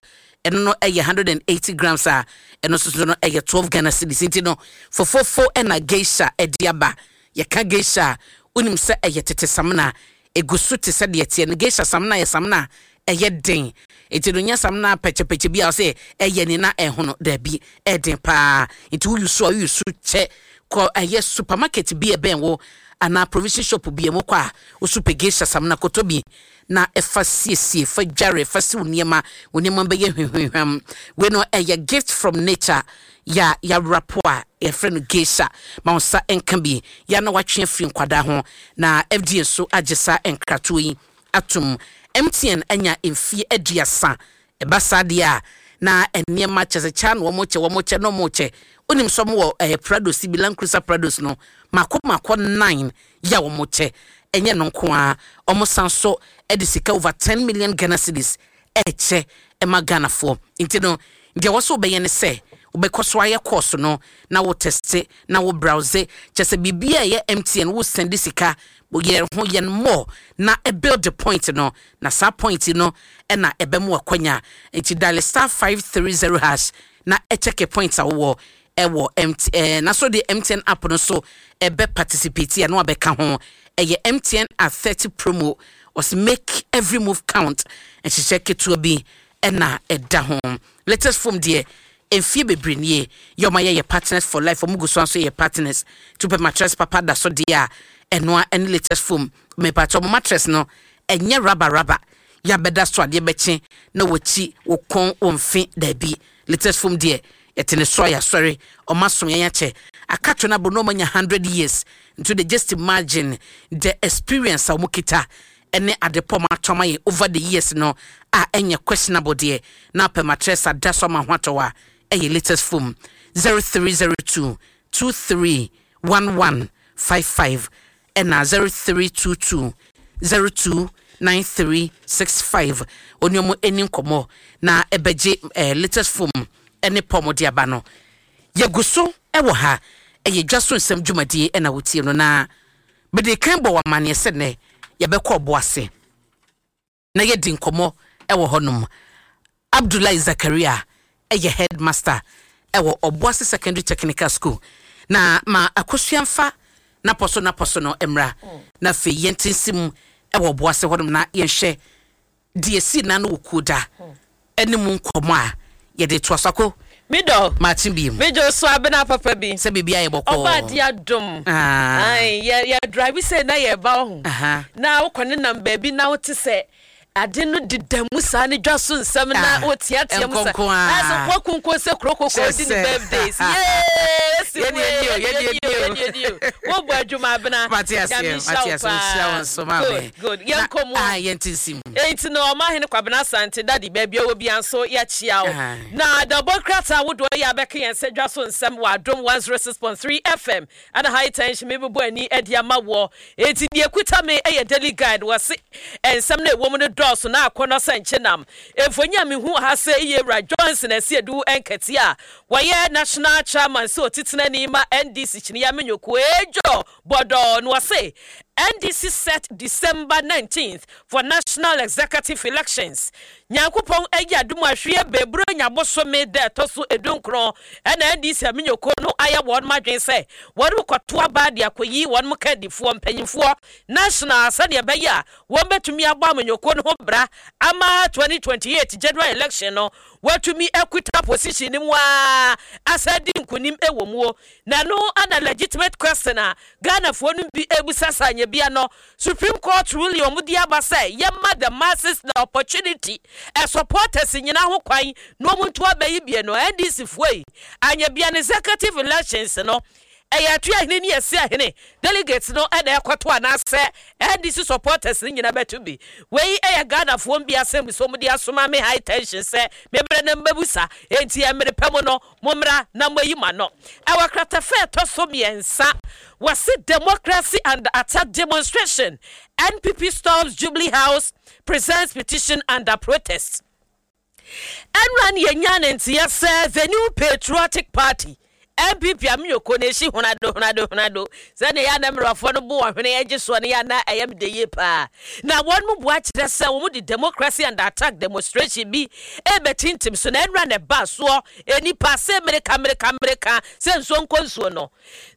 ɛno no ɛyɛ 180 grams a ɛno nso so no ɛyɛ 12 Ghana cedis nti no fofofo ɛna Geisha ɛde aba yɛka Geisha a wonim sɛ ɛyɛ tete samina egu so te sɛ deɛ ɛteɛ no Geisha samina yɛ samina a ɛyɛ den nti no nyɛ samina pɛkyɛpɛkyɛ bi a ɔsɛ ɛyɛ ne na ɛhono daabi ɛden paa nti woyi so a woyi so kyɛ kɔ ɛyɛ supermarket bi ɛbɛn wo anaa provision shop bi a mokɔ a, woso pɛ geisha samina kɔtɔ bi na fa siesie, fa dware, fa siw nneɛma, wo nneɛma bɛyɛ hwehwehwam. Wei no ɛyɛ gift from nature yɛ a yɛawrapo a yɛfrɛ no geisha. Ma wo nsa nka bi yɛ a na watwe afiri nkwadaa ho. Na FDA nso agye saa nkratoɔ yi atom. MTN anya mfeɛ 30. Ɛba saa deɛ a, na nneɛma kyɛ sɛ kyɛ na wɔkyɛ, wɔkyɛ na wɔkyɛ. Wonim sɛ wɔwɔ ɛɛ Prados bi, Land Cruiser Prados no, mako mako nine yɛ a wɔkyɛ. Ɛnyɛ no nko ara, wɔsan so de sika over ten million Ghana cedis ɛrekyɛ ma Ghanafoɔ. Nti no, deɛ ɛwɔ sɛ wobɛyɛ ne sɛ, wobɛkɔ so ayɛ course no na wo teste na wo browse. Kyerɛ sɛ biribiara a ɛyɛ MTN, wo sɛnde sika, yɛ ho yɛn more na build point no Na saa point yi no na ɛbɛma wo akwanya. Nti dial star 530 hash na kyɛke points a wowɔ ɛwɔ MT ɛɛ na so de MTN app no so ɛbɛ participate a na wabɛka ho. Ɛyɛ MTN at 30 promo. Ɔse make every move count. Nhyehyɛ ketewa bi ɛna ɛda ho. Latest foam deɛ mfie bebree nie yɛ ɔma yɛyɛ partners for life ɔmo gu so nso yɛ partners nti wopɛ mattress papa da so deɛ a ɛnoa ɛne latest foam. Mepakyɛ ɔmo mattress no ɛnyɛ rubber rubber yɛ abɛda so adeɛ bɛkye na wakyi wo kɔn wo mfe daabi. Latest foam deɛ yɛte ne so a yɛasɔre ɔmo asom yɛn akyɛ akatwo no abɔ na ɔmo anya 100 years nti de just imagine the experience a ɔmo kita ɛne adepɔ ɔmo atɔ ama yɛn over the years no a ɛnyɛ questionable deɛ na apɛ mattress ada so ama ho atɔ a ɛyɛ latest foam. 0302 23 1155 ɛna 0322 02 9365 oni ɔmo ani nkɔmmɔ na ɛbɛgye latest foam ɛne pɔm de aba no. Yɛgu so ɛwɔ ha ɛyɛ dwa so nsɛm dwumadie ɛna wotie no na mede kan bɔ wɔ amanneɛ sɛ nnɛ yɛbɛkɔ ɔbo ase na yɛdi nkɔmmɔ ɛwɔ hɔnom. Abdullahi Zakaria ɛyɛ headmaster ɛwɔ Ɔboase Secondary Technical School na ma akosua mfa napɔ so napɔ so no mmra na afei yɛnte nsi mu ɛwɔ Ɔboase hɔnom na yɛnhwɛ deɛ si na no wɔ kuo da ɛne mu nkɔmmɔ a yɛde toa so ako. Midɔ. Maakye bi mu. Medwo so abena papa bi. Sɛ biribi ayɛ bɔkɔɔ. Ɔba adi adom. Ah. Ai, yɛ yɛ drive sɛ na yɛ ba ho. Na wokɔ ne nam baabi na wote sɛ ade no deda mu saa ne dwa so nsɛm na Ah, woteatea mu sa. nkonko a. Ɛsɛ wakunko sɛ kuro koko Kyɛ di ne sɛ. birthdays. Yee, si Yɛne wei, ani o, yɛne yɛne ani o, ani o. yɛne ani o. Wobɔ adwuma abena. Mate aseɛ, Nyame nhyira mate wo aseɛ, nhyira wo paa. nso, maame. Good, good. Yɛnkɔ mu. Ah, yɛnte nsi mu. Enti no ɔmahene Kwabena Asante dade baabi a ɔwɔ bia nso yɛakyia wo. Na dabɔ krataa wodoɔ yɛ abɛka yɛn sɛ dwa so nsɛm wɔ Adom 106.3 FM ɛna high tension mebobɔ ani adi ama woɔ. Enti deɛ kuta me ɛyɛ Daily Guide wɔ se nsɛm no ɛwɔ mu no dɔɔso na akɔnnɔ sɛ nkyenam. Mfonyi a mehu ha sɛ yɛ Wura Johnson Asiedu Nkɛtee a wɔyɛ National Chairman sɛ ɔtitenani ma NDC Kyiniya Menyoko Ejo Bɔdɔɔ no wɔse NDC set December 19th for national executive elections. Nyankopɔn ayi adom ahwie beburo nyabosome da ɛtɔ so 19 ɛna NDC amenyoko no ayɛ wɔn adwene sɛ wɔn kɔto aba de akɔyi wɔn kandifoɔ mpanyinfoɔ national sɛdeɛ ɛbɛyɛ a wɔn bɛtumi abɔ amenyoko no ho bra ama 2028 general election no wɔatumi akuta position no mu a asa di nkonim ɛwɔ muo. Na no ana legitimate question a Ghanafoɔ no bi ebusa sa anya bia no Supreme Court ruling ɔmo de aba sɛ yɛma the masses the opportunity ɛ supporters nyinaa ho kwan na ɔmo nto abɛyi bie no NDC foɔ yi anya bia no executive elections no ɛyɛ atu ahene ne yɛsi ahene delegates no ɛna ɛkɔto anaasɛ NDC supporters no nyinaa bɛto bi. Wei ɛyɛ Ghanafoɔ bi asɛm so ɔmo de asoma me high tension sɛ mebrɛ na mmabusa enti ɛmmere pɛ mu no mommra na moayi ma no. Ɛwɔ kratafa ɛtɔ so 3 wɔse democracy and attack demonstration NPP storms Jubilee House presents petition under protest. Ɛnra ne yɛnya ne nteɛ sɛ the New Patriotic Party NPP ameyɔko na ɛhyi honado honado honado sɛdeɛ yɛ ana mmerɛwafoɔ no bo ɔhwene agye soɔ no yɛ ana ɛyɛ mede yie paa na wɔn mu boa kyerɛ sɛ wɔn de democracy and attack demonstration bi ɛbɛtintim so na ɛnra na ɛba soɔ nipa sɛ mmereka mmereka mmereka sɛ nsuo nkɔ nsuo no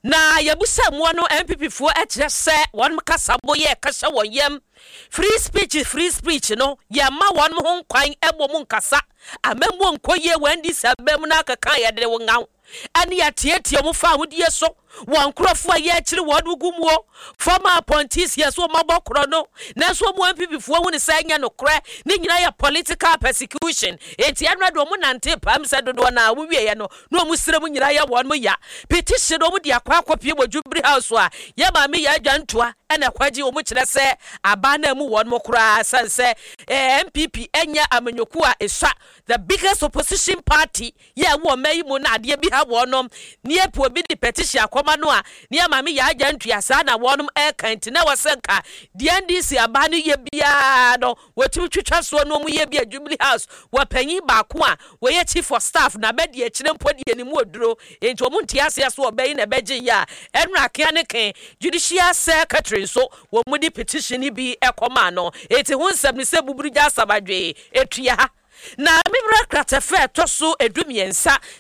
na yɛbusa mmoa no NPP foɔ ɛkyerɛ sɛ wɔn kasa bo yɛ kasa wɔn yam free speech no yɛma wɔn ho nkwan ɛbɔ mu nkasa amammuo nkɔ yie wɔn NDC abɛn mu na akeka yɛde wɔn ngaw ɛne yɛatietie mo fa ahodie so wɔn nkurɔfoɔ a yɛakyiri wɔn gu muo former appointees yɛ so wɔn abɔ korɔ no nanso wɔn NPP foɔ hu ne sɛ ɛnyɛ nokorɛ ne nyinaa yɛ political persecution enti ɛnora de wɔn nante pam sɛ dodoɔ na wɔn wieɛ no na wɔn srɛ mu nyinaa yɛ wɔn mo ya petition wɔn de akɔ akɔpie wɔ Jubilee House a yɛ maame yɛ adwa ntoa ɛna ɛkɔgye wɔn kyerɛ sɛ aban na mu wɔn mo koraa san sɛ NPP ɛnyɛ amanyɔkuo a esua the biggest opposition party yɛ wɔ ɔman yi mu na adeɛ bi ha wɔnom ne yɛpɛ obi de petition akɔma no a ne yɛ maame yɛ agya ntua saa na wɔnom ɛka nti na wɔsɛ nka deɛ NDC aba no yɛ biara no wɔtumi twitwa soɔ no wɔn yɛ bi a Jubilee House wɔ panyin baako a wɔyɛ chief of staff na bɛdi akyire mpo deɛ ne mu oduro nti wɔn nte aseɛ so ɔbɛyi na ɛbɛgye yɛ a ɛnura akea ne ke judicial secretary nso wɔn mu de petition bi ɛkɔma no eti ho nsɛm ne sɛ buburu gya asabadwe etua ha. Na mebra kratɛfɛ ɛtɔ so 13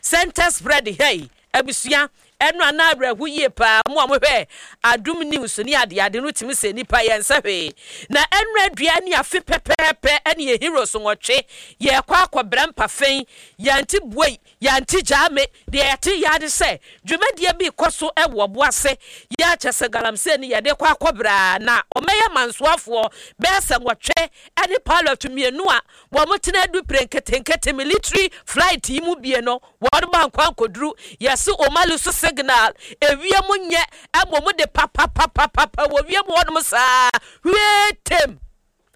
center spread ha yi abusua. Ɛno a na awerɛho yie paa, mo a mohwɛ Adom News ne adeade no tumi sɛ nnipa yɛnsɛ hwee. Na ɛno adua ne afe pɛpɛɛpɛ ɛne yɛ heroes nwɔtwe yɛkɔ akɔbra mpafen, yɛante buei, yɛante gyaa me, deɛ yɛte yɛ ara ne sɛ dwumadie bi rekɔ so wɔ ɔbo ase, yɛ kyɛ sɛ galamsey no yɛde kɔ akɔbra na ɔmɛyɛ mansoafoɔ bɛyɛ sɛ nwɔtwe ɛne pilot mmienu a wɔn tena adupire nketenkete military flight yi mu bie no Wɔn ankɔ ankoduru yɛse Omali so signal ewiem nyɛ mmom de papapapapa wɔ wiem hɔnom saa hwiee tem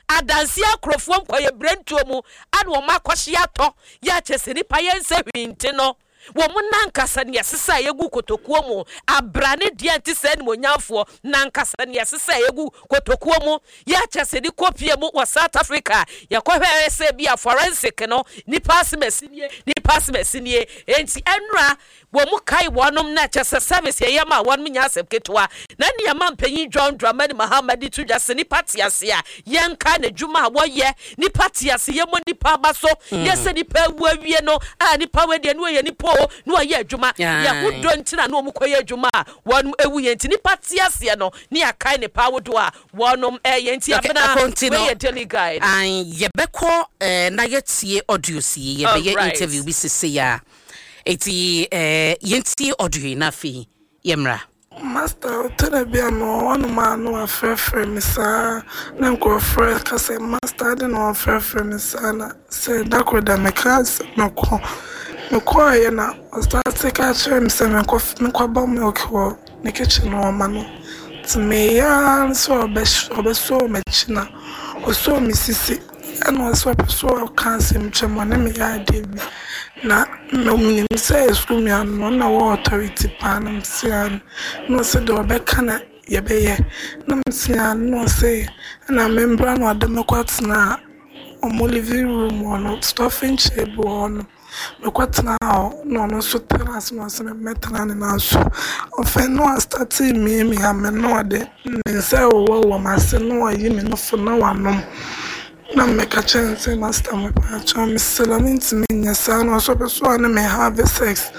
adanseɛ akorofoɔ nkɔyɛ brentuo mu ana wɔn akɔhye atɔ yɛ akyɛ sɛ nipa yɛ nsɛ hwee nti no wɔn nankasa ne ɛsesa a yɛgu kotokuo mu abrane deɛ nte sɛ animonyamfoɔ nankasa ne ɛsesa a yɛgu kotokuo mu Yɛ akyɛ sɛ de kɔ pie mu wɔ South Africa yɛkɔ hwɛ sɛ bi a forensic no nipa asem asi nie nipa asem asi nie enti ɛnora wɔn mu kae wɔnom na kyɛ sɛ service yɛyɛ ma wɔnom nyɛ asɛm ketewa na nea ma mpanyin John Dramani Mahama de to dwa sɛ nipa te ase a yɛnka n'adwuma a wɔyɛ nipa te ase yɛmmɔ nipa aba so yɛ sɛ nipa awu awie no a nipa wei deɛ ne ɔyɛ nipa o ne ɔyɛ adwuma yɛ ho dɔ ntina na wɔn kɔyɛ adwuma a wɔnom ewu yɛ nti nipa te aseɛ no ne yɛakae ne pa ahodoɔ a wɔnom ɛyɛ nti Okay, abena ɛkɔ nti no wei yɛ daily guide. An yɛbɛkɔ eh, na yɛtie audios yi yɛbɛyɛ Alright. interview bi sesei a eti eh, yɛntie audio yi na afei yɛmmra. Master, ɔtɔ da bi a mewɔ hɔnom a na wɔafrɛfrɛ me saa na nkurɔfoɔ reka sɛ Master adɛn na wɔafrɛfrɛ me saa na sɛ da koro da mekaa sɛ mɛkɔ. Mekɔeɛ na ɔstarte ka kyerɛɛ me sɛ menkɔ menkɔbɔ milk wɔ ne kitchen hɔ ma no. Ntsi meyɛɛ ara nye sɛ ɔbɛsɔɔ m'ekyir na ɔsɔɔ me sisi na ɔse ɔpɛ sɛ ɔka asɛm kyerɛ me, ɔne me yɛ adeɛ bi. Na minyim sɛ skuul nua no ɔno na ɔwɔ authority paa na mese aane. Na ɔse deɛ ɔbɛka na yɛbɛyɛ. Na mese aane na ɔse nna membra na ɔde me kɔtsenaa ɔmo living room hɔ no, stuffing chair bi wɔ hɔ no. Mekɔtenaa hɔ na ɔno nso tenaa ase na ɔse memmɛtena ne nan so. Afei na wastate remiamia me na ɔde ne nsa rewowɔwowɔ m'ase na wayi me nufu na wanom. Na meka kyerɛɛ no sɛ Master mepakyɛw mesrɛ wo mentumi nyɛ saa na ɔse ɔpɛ sɛ ɔne me have sex.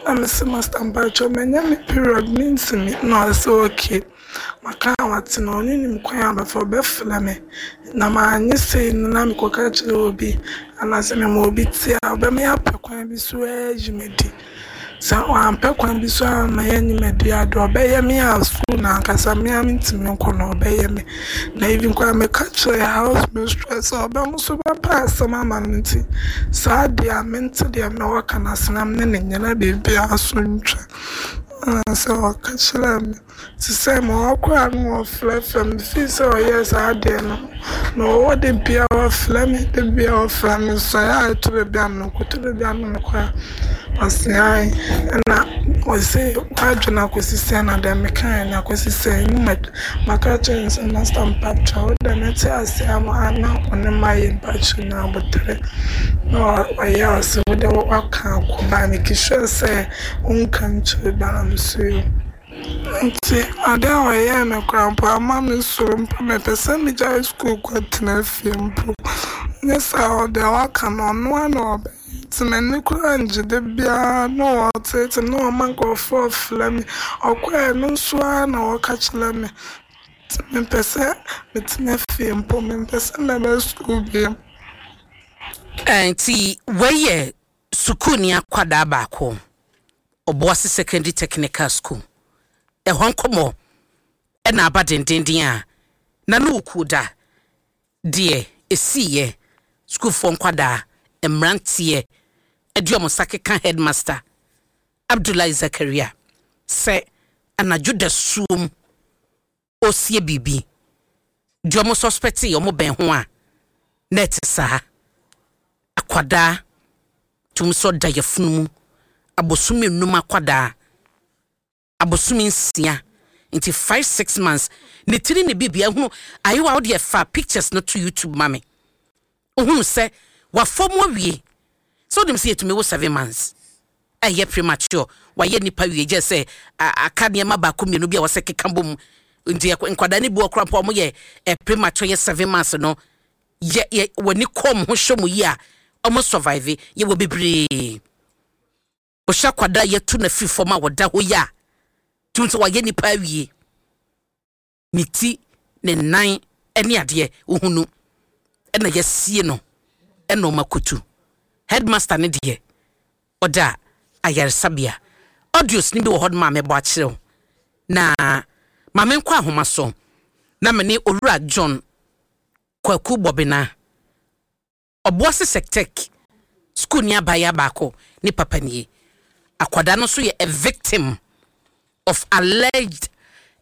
Na mese Master mpakyɛw manya me period mentumi na ɔse okay. Maka a wate no, ɔno nim kwan a ɔbɛfa, ɔbɛfrɛ me. Na manyɛ sei no na mekɔka kyerɛ obi anaasɛ mema obi te a, ɔbɛma yɛapɛ kwan bi so ayi me adi. Sɛ wampɛ kwan bi so amma yɛanyi me adi a, deɛ ɔbɛyɛ me a sukuu no ankasa me ara mentumi nkɔ no, ɔbɛyɛ me. Na even koraa meka kyerɛɛ house mistress sɛ ɔbɛ nso bɛpɛ asɛm ama no nti saa deɛ a mente deɛ mewɔ ka no ase na me ne no nyɛ na biribiara so ntwa. Anaasɛ ɔka kyerɛɛ me. Te sɛ ma ɔkɔ a na ɔfrɛfrɛ me fii sɛ ɔyɛɛ saa adeɛ no na ɔwɔ da biara ɔfrɛ me da biara ɔfrɛ me nso ɛyɛ a ɛtɔ da bi a menkɔ ɛtɔ da bi a na mekɔ a ɔse ae ɛna ɔse w'adwene akɔsi sɛn na deɛ mekaeɛ no akɔsi sɛn na maka akyerɛ no sɛ master mpakyɛw wo deɛ mɛte aseɛ ama na ɔne mayɛ mpakyɛw nya aboterɛ na ɔyɛ a ɔse wo deɛ waka akɔ but make sure sɛ wonka nkyerɛ obiara na mese yoo. Ntsi ade a ɔyɛɛ no koraa mpo amma me suro mpo, mepɛ sɛ megyae skuul kɔtsena fie mpo. Nnyɛ saa a dza ɔaka no ɔno ara na ɔbɛyɛ ntsi m'enyi koraa nngye da biara na ɔtseetsee me na ɔma nkorɔfo frɛ me. Ɔkɔe no so ara na ɔka kyerɛ me ntsi mepɛ sɛ metsena fie mpo, memmpɛ sɛ mɛba skuul bio. Ntsi wei yɛ sukuuni akwadaa baako. Obuasi Secondary Technical School. Ɛhɔ nkɔmmɔ na aba dendeenden a na ne okuo da deɛ ɛsiiɛ sukuufoɔ nkwadaa mmeranteɛ de wɔn nsa keka Headmaster Abdullahi Zakaria sɛ anadwo dasuom ɔresie biribi deɛ wɔn suspectee wɔn bɛn ho a na ɛte saa. Akwadaa tum sɛ ɔda yafunu mu abosome nnum akwadaa abosome nsia nti five six months ne tiri ne biribi ahunu ayewa wo deɛ fa pictures no to YouTube ma me ohunu sɛ wafɔ mu awie sɛ wonim sɛ yɛtumi wo seven months ɛyɛ premature wayɛ nipa wie gyɛ sɛ aka nneɛma baako mmienu bi a wɔsɛ keka bom nti nkwadaa no bi wɔ koraa mpo a wɔyɛ premature yɛ seven months no yɛ yɛ wɔni kɔm ho hwɛ mu yi a wɔn survive yɛ wɔ bebree. Wohyɛ akwadaa a yɛatu no afiri fam a ɔda hɔ yi a, tumi sɛ wayɛ nipa awie. Ne ti, ne nan ne adeɛ, wohunu ɛna yɛasie no ɛna ɔma kotu. Headmaster no deɛ, ɔda ayaresabea. Audios no bi wɔ hɔ nom a mɛbɔ akyerɛ wo. Na ma menkɔ ahoma so na me ne Owura John Kwaku Bɔbena Ɔboase Sectec sukuuni abaayewa baako ne papa nie. Akwadaa no nso yɛ a victim of alleged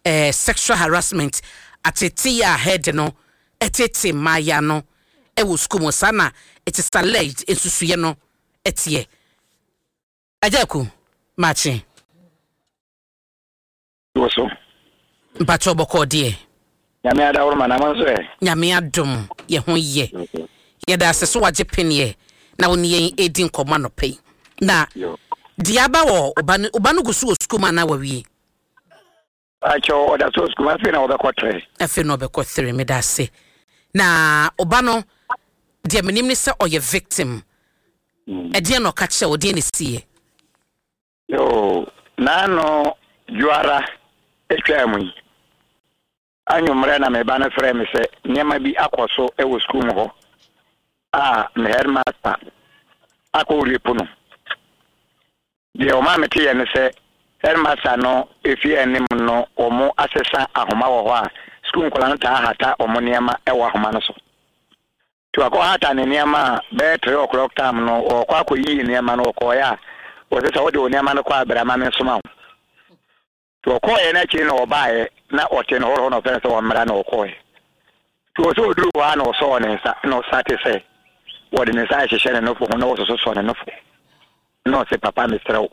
eh, sexual harassment, ateetee a head no teetee mmaayewa no wɔ sukuu mu. Saa na it is alleged, nsusuiɛ no teɛ. Agya Aku, makye. Wo so. Mpakyɛw bɔkɔɔ deɛ. Nyame adaworoma na mo nso ɛ? Nyame adom yɛ ho yɛ. Yɛda ase so wagye peneɛ na wo ne yɛn redi nkɔmmɔ anɔpa yi. Na deɛ aba wɔ wo ba no, wo ba no gu so wɔ sukuu mu anaa wawie? Mpakyɛw ɔda so wɔ sukuu mu, afei na ɔbɛkɔ three. Afei na ɔbɛkɔ three, meda ase. Na wo ba no deɛ menim ne sɛ ɔyɛ victim. Ɛdeɛn na ɔka kyerɛ wo, deɛn na ɛsiiɛ? Yoo, n'ano dwoara twaa mu yi, anwummerɛ na me ba no frɛɛ me sɛ nneɛma bi akɔ so wɔ sukuu mu hɔ a me headmaster akɔ rape no. Deɛ ɔmaa meteeɛ ne sɛ headmaster no efie anim no wɔn asesa ahoma wɔ hɔ a sukuu nkwadaa no taa hata wɔn nneɛma wɔ ahoma no so. Nti wakɔhata ne nneɛma a bɛyɛ three o'clock time no ɔɔkɔ akɔyiyi nneɛma no ɔkɔɔeɛ a wɔse sɛ wode wo nneɛma no kɔ a bra ma mensoma wo. Nti ɔkɔɔeɛ no akyiri na ɔbaeɛ na ɔte no hɔ na ɔfrɛ no sɛ ɔmmra na ɔkɔɔeɛ. Nti ɔsɛ ɔduru hɔ a na ɔsɔɔ ne nsa na ɔsate sɛ wɔde ne nsa ahyehyɛ ne nofo ho na wɔsososɔ ne nofo na ɔse papa mesrɛ wo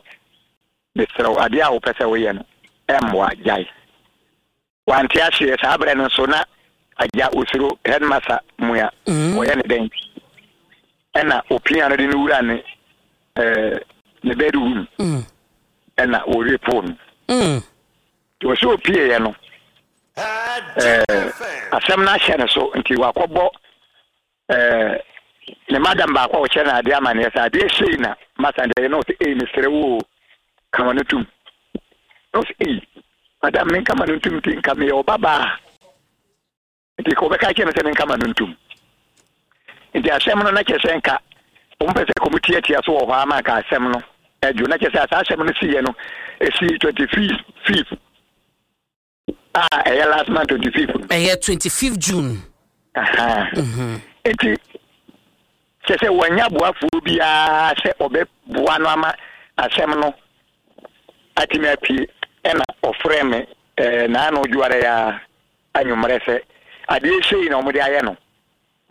mesrɛ wo adeɛ a wopɛ sɛ woyɛ no ɛmmoa gyae. Wante aseɛ, saa berɛ no nso na agya ɔsuro headmaster mua, ɔyɛ ne dɛn? Ɛna ɔpia no de no wura ne eh, ne bedroom ɛna ɔrepoo no. Nti ɔsɛ ɔpieeɛ no eh, asɛm no ahyɛ ne so nti wakɔbɔ eh, ne madam baako a ɔkyerɛ no adeɛ amaneɛ sɛ adeɛ sei na masa deɛ na ɔsɛ ei mesrɛ wo o ka ma no tum na ɔsɛ ei madam menka ma no ntum nti nka meyɛ ɔbabaa nti ka ɔbɛka kyerɛ me sɛ menka ma no ntum nti asɛm no na kyerɛ sɛ nka wɔn pɛ sɛ kɔm tiatia so wɔ hɔ ama nka asɛm no adwo na kyerɛ sɛ saa asɛm no siiɛ no ɛsii 25 a ɛyɛ last month 25 no. Ɛyɛ 25 June. Mhm. Nti kyɛ sɛ wɔanya boafoɔ biara sɛ ɔbɛboa no ama asɛm no atumi apue ɛna ɔfrɛ me ɛɛ naano dwoara ya anwummerɛ sɛ adeɛ sei na wɔde ayɛ no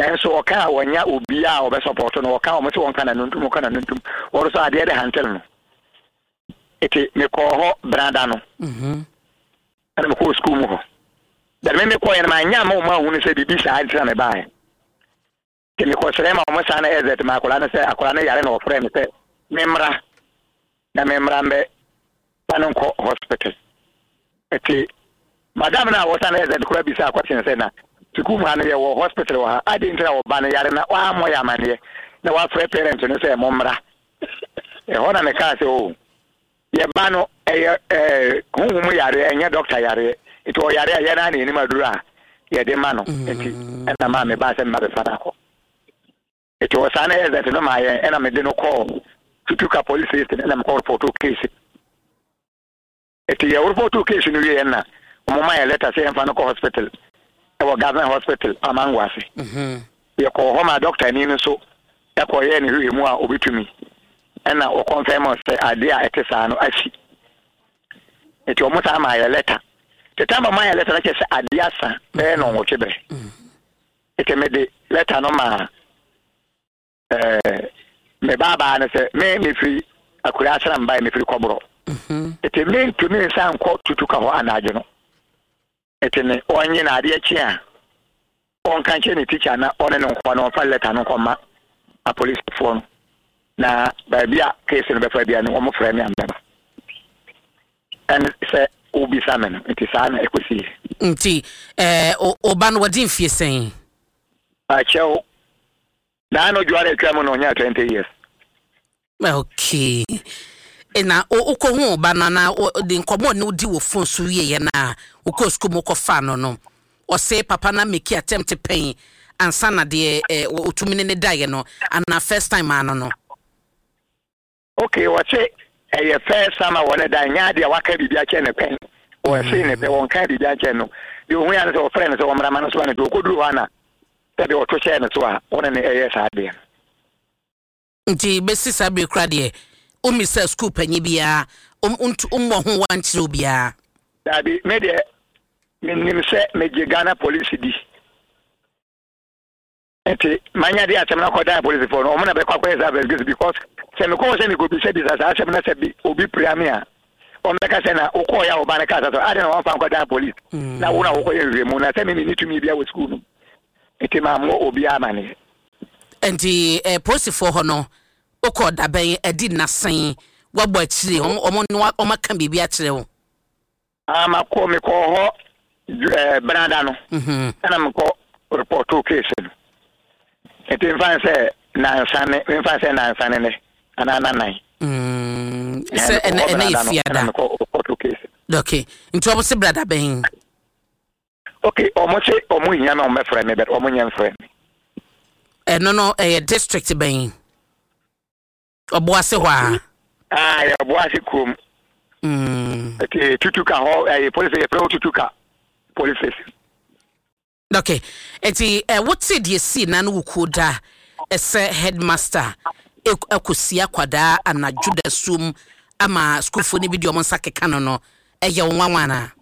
nanso ɔka a wɔnya obiara a ɔbɛsɔpɔto no ɔka wɔn sɛ wɔnka n'ano ntom ɔka n'ano ntom wɔn nso adeɛ de hantel no Eti mekɔɔ hɔ benada no. Ɛna mekɔɔ sukuu mu hɔ. But me mekɔeɛ no manyɛ amma wɔn anhunu sɛ biribi saa nti na mebaeɛ. Nti mekɔsrɛ ma wɔn san exit ma akwadaa no sɛ akwadaa no yare na wɔfrɛɛ me sɛ memmra na memmra mbɛ fa no nkɔ hospital. Nti madam no a wɔsan exit koraa bisaa question sɛ na sukuu mu ha no yɛwɔ hospital wɔ ha adɛn nti na ɔba no yare na wammɔ yɛ amanneɛ na wafrɛ parent no sɛ mommra. Ɛhɔ na mekaa sɛ, Oh, yɛn ba no, ɛyɛ ɛɛ honhom mu yareɛ, ɛnyɛ dɔkta yareɛ. Nti ɔyare a, yɛn ara na yɛnim aduro a yɛde ma no. Nti ɛna maa mebaa sɛ meba bɛfa no akɔ. Nti ɔsaa no ɛzɛt no maa yɛn, ɛna mede no kɔɔ Tutuka police station, ɛna mekɔ repɔtoo case. Eti yɛ repɔtoo case no wieɛ na wɔn ma yɛ letter sɛ yɛmfa no kɔ hospital ɛwɔ government hospital Amango ase. Yɛkɔɔ hɔ ma doctor ni no nso ɛkɔ yɛɛ ne hwehwɛ mu a obetumi ɛna wɔ confirm sɛ adeɛ a ɛte saa no asi. Eti wɔn san maa yɛ letter. The time wɔn maa yɛ letter no kyerɛ sɛ adeɛ asa bɛyɛ nnɔnwɔtwe berɛ. Eti mede letter no maa Ɛɛ, me baabaa no sɛ me mefiri akuraa ase na mebaeɛ, mefiri Kɔborɔ. Eti mentumi nsan nkɔ Tutuka hɔ anadwo no. Eti me ɔnye no adeɛ kye a, ɔnka nkyerɛ ne tikya na ɔne no nkɔ na ɔmfa lɛta no nkɔma apolisifoɔ no. Na baabi a case no bɛfa bia no, wɔfrɛ me a mɛba. Ɛne sɛ wobisa me no, nti saa na ɛkɔsiiɛ. Nti ɛɛ, wo ba no wadi mfie sɛn? Akyɛw, Naa no dware atwa mu na ɔnyaa 20 years. Okay. Na wokɔhu wo ba no anaa de nkɔmmɔ ne wodi wɔ phone so wieɛ no a, wokɔɔ sukuu mu kɔfaa no no, ɔse papa no ameki attempt pɛn ansa na deɛ ɔtumi ne ne daeɛ no anaa first time ano no? Okay, ɔse ɛyɛ first time a wɔne da, nyɛ adeɛ a waka biribi akyerɛ no pɛn. Ɔse ne pɛ, wɔnkaa biribi ankyerɛ no. Deɛ ɔhui ara ne sɛ ɔfrɛɛ no sɛ ɔmmra ma no soma no, nti ɔkɔduruu hɔ a na sɛdeɛ ɔto hyɛɛ no so a ɔne no ɛyɛ saa adeɛ no. Nti bɛsi saa bere koraa deɛ, wommisaa sukuu panyin biara, wommɔ ho wa nkyerɛ obiara? Daabi, me deɛ menim sɛ megye Ghana Police di. Nti manya de asɛm no akɔdan apolisifoɔ no, wɔn na bɛkɔ akɔyɛ saa investigation because sɛ mekɔ hɔ sɛ mekɔbisabisa saa asɛm na sɛ bi obi pira me a, wɔbɛka sɛ na wokɔɔyɛ a ɔba no kaa sa so adɛn na wɔamfa nkɔdan police na wo na wokɔyɛ nhwehwɛmu na sɛ me menni tumi bia wɔ sukuu no mu. Nti mammɔ obiara amaneɛ. Nti eh, polisifoɔ hɔ no wokɔɔ dabɛn, adi nna sɛn, woabɔ akyire, wɔn wɔn wɔn aka biribi akyerɛ wo? Ah, makɔ, mekɔɔ hɔ eh, benada no, mhm. ɛna mekɔ repɔtoo case no. Nti mfa n sɛ nansa ne, mfa n sɛ nansa ne nɛ, anaa nanan. Mm, sɛ ɛnɛ ɛnɛ yɛ fiada. Ɛna mekɔ repɔtoo case. Okay, nti wɔn se brada bɛn? Okay, wɔn se wɔn hia na wɔn bɛfrɛ me, but wɔn nyɛ mfrɛ me. Ɛno no ɛyɛ district bɛn? Ɔboase hɔ a. Ah, yɛ Ɔboase kurom. Mm. Ɛte Tutuka hɔ, ɛyɛ police yɛfrɛ hɔ Tutuka police station. Okay, nti ɛ wote deɛ sii na no wukuo da ɛsɛ headmaster ɛkɔsi akwadaa anadwo da suom ama sukuufoɔ no bi de wɔn nsa keka no no, ɛyɛ wo nwanwa anaa?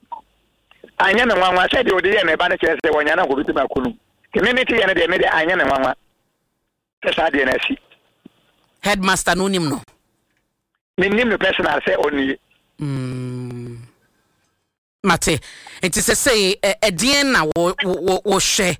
Anyɛ me nwanwa sɛ deɛ ɔde yɛ me ba no kyerɛ sɛ wɔnya no ankɔbɛtumi aku no. Nti me mete yɛ no deɛ me deɛ anyɛ me nwanwa. Sɛ saa deɛ no asi. Headmaster no wonim no? Mennim no personal sɛ ɔnie. Mm. Mate. Nti sɛsɛi ɛdeɛn na wohwɛ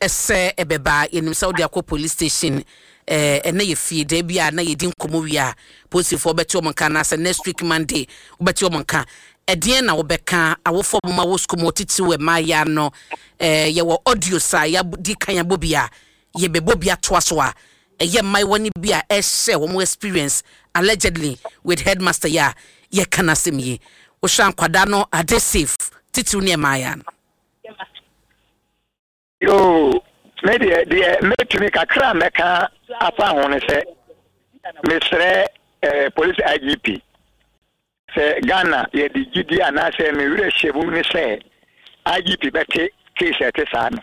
sɛ ɛbɛba? Yɛnim sɛ wode akɔ police station ɛnɛ yɛ fie da bi a na yɛdi nkɔmmɔ wie a polisifoɔ bɛte wɔn nka anaasɛ next week Monday wobɛte wɔn nka. Ɛdeɛn na wobɛka awofoɔ a wɔma wɔ sukuu mu titiriw mmaayaa no? Yɛwɔ audios a yɛadi kan abɔ bi a yɛbɛbɔ bi atoa so a, ɛyɛ mmaayewa no bi a ɛhyɛ wɔn experience allegedly with headmaster yi a yɛka n'asɛm yi. Wohwɛ a nkwadaa no are they safe? Titiriw ne mmaayewa no. Yoo, me deɛ, deɛ mɛtumi kakra a mɛka afa ho ne sɛ, mesrɛ eh, Police IGP sɛ Ghana yɛde gyidie anaasɛ me werɛ hyɛ mu ne sɛ IGP bɛte case a ɛte saa no.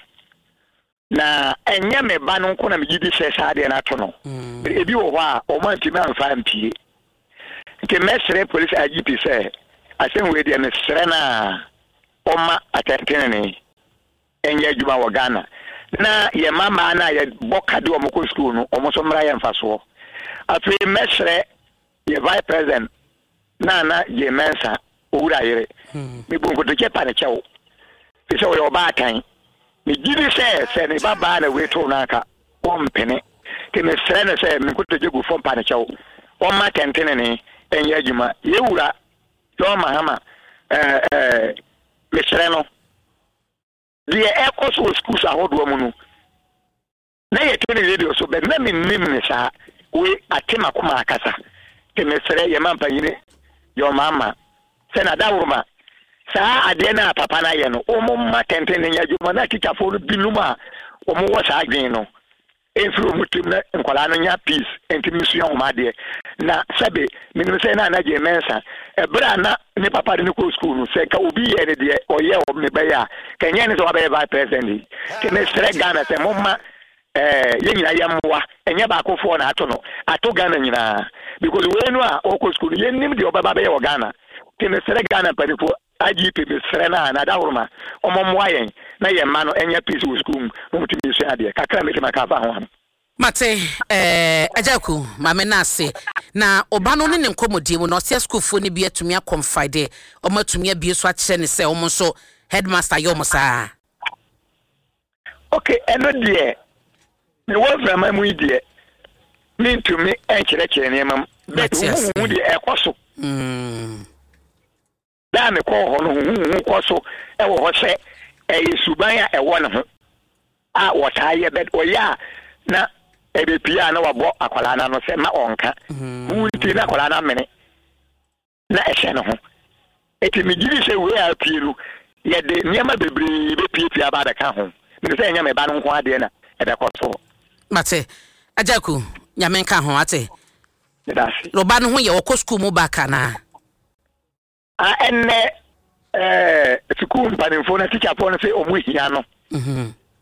Na ɛnyɛ me ba no nko na megye di sɛ saa adeɛ no ato no. Mm. Ebi wɔ hɔ a, wɔn antumi amfa ampie. Nti mɛsrɛ polisi IGP sɛ asɛm wei deɛ mesrɛ no a ɔma atɛntenenee nyɛ adwuma wɔ Ghana na yɛn mmammaa no a yɛbɔ ka de wɔn kɔ sukuu no wɔn nso mmra yɛ mfasoɔ. Afei mɛsrɛ yɛ vice president Nana Jane Mensah, Owura yere. Mebu nkotodwe pa no kyɛw, efisɛ ɔyɛ ɔbaatan. Migye di sɛ sɛ ne ba baa na wei too no anka ɔrempene. Enti mesrɛ no sɛ me nkotodwe gu fam pa no kyɛw, ɔmma atɛntrenee nyɛ adwuma. Yɛn wura John Mahama, eh, eh, mesrɛ no. Deɛ ɛrekɔ so wɔ schools ahodoɔ mu no, Na yɛte no radio so but na mennim no saa. Wei ate makoma akasa. Nti mesrɛ yɛn mampanyini John Mahama sɛ n'adaworoma saa adeɛ no a papa no ayɛ no wɔn mma tɛntɛn no nyɛ adwuma na tikyafoɔ no binom a wɔn wɔ saa adwene no mfiri wɔn tirim na nkwadaa no nya peace ntumi nsua wɔn adeɛ. Na sɛbe menim sɛ na Anna Jane Mensah ɛberɛ a na ne papa de no kɔɔ sukuu no sɛ ka obi yɛɛ no deɛ ɔyɛɛ wɔ me bɛyɛ a ka ɛnyɛ ne sɛ wabɛyɛ vice president yi. Nti mesrɛ Ghana sɛ momma eh, yɛn nyinaa yɛmmoa ɛnyɛ baakofoɔ na ato no ato Ghana nyinaa because wei no a ɔkɔ sukuu no yɛnnim deɛ ɔbɛba bɛyɛ wɔ Ghana. Nti mesrɛ Ghana mpanimfoɔ IGP mesrɛ no a na adaworoma ɔmɔ mmoa yɛn na yɛn mma no ɛnyɛ peace wɔ sukuu mu na wɔtumi sua adeɛ kakra mɛtumi aka afa ho ano. Mate eh, Agya Aku, Maame no ase. Na ɔba no ne ne nkɔmmɔdie mu no, ɔse asukuufoɔ no bi atumi akɔnfide, wɔn atumi abue so akyerɛ no sɛ wɔn nso headmaster yɛ wɔn saa. Ok, ɛno deɛ, mewɔ mframa mu yi deɛ, mentumi nkyerɛkyerɛ nneɛma mu, but huhuhu deɛ ɛkɔ so. Mm. Da a mekɔɔ hɔ no, huhuhuhu kɔ so wɔ hɔ sɛ ɛyɛ suban a ɛwɔ ne ho a wɔtaa yɛ bɛ ɔyɛ a na ɛbɛpie a na wabɔ akwadaa no ano sɛ ma ɔnka. Hu nti na akwadaa no amene. na ɛhyɛ ne ho. Enti megye di sɛ wei a apue no, yɛde nneɛma bebree bɛpuepue aba abɛka ho. Menim sɛ ɛnyɛ me ba no nko ara deɛ na ɛbɛkɔ so. Mate. Agya Aku, Nyame nka ho, ate? Meda ase. Na ɔba no ho yɛ, ɔkɔ sukuu mu back anaa? Ah, ɛnnɛ ɛɛ sukuu mpanimfoɔ no, tikyafoɔ no sɛ wɔn hia no. Mhm.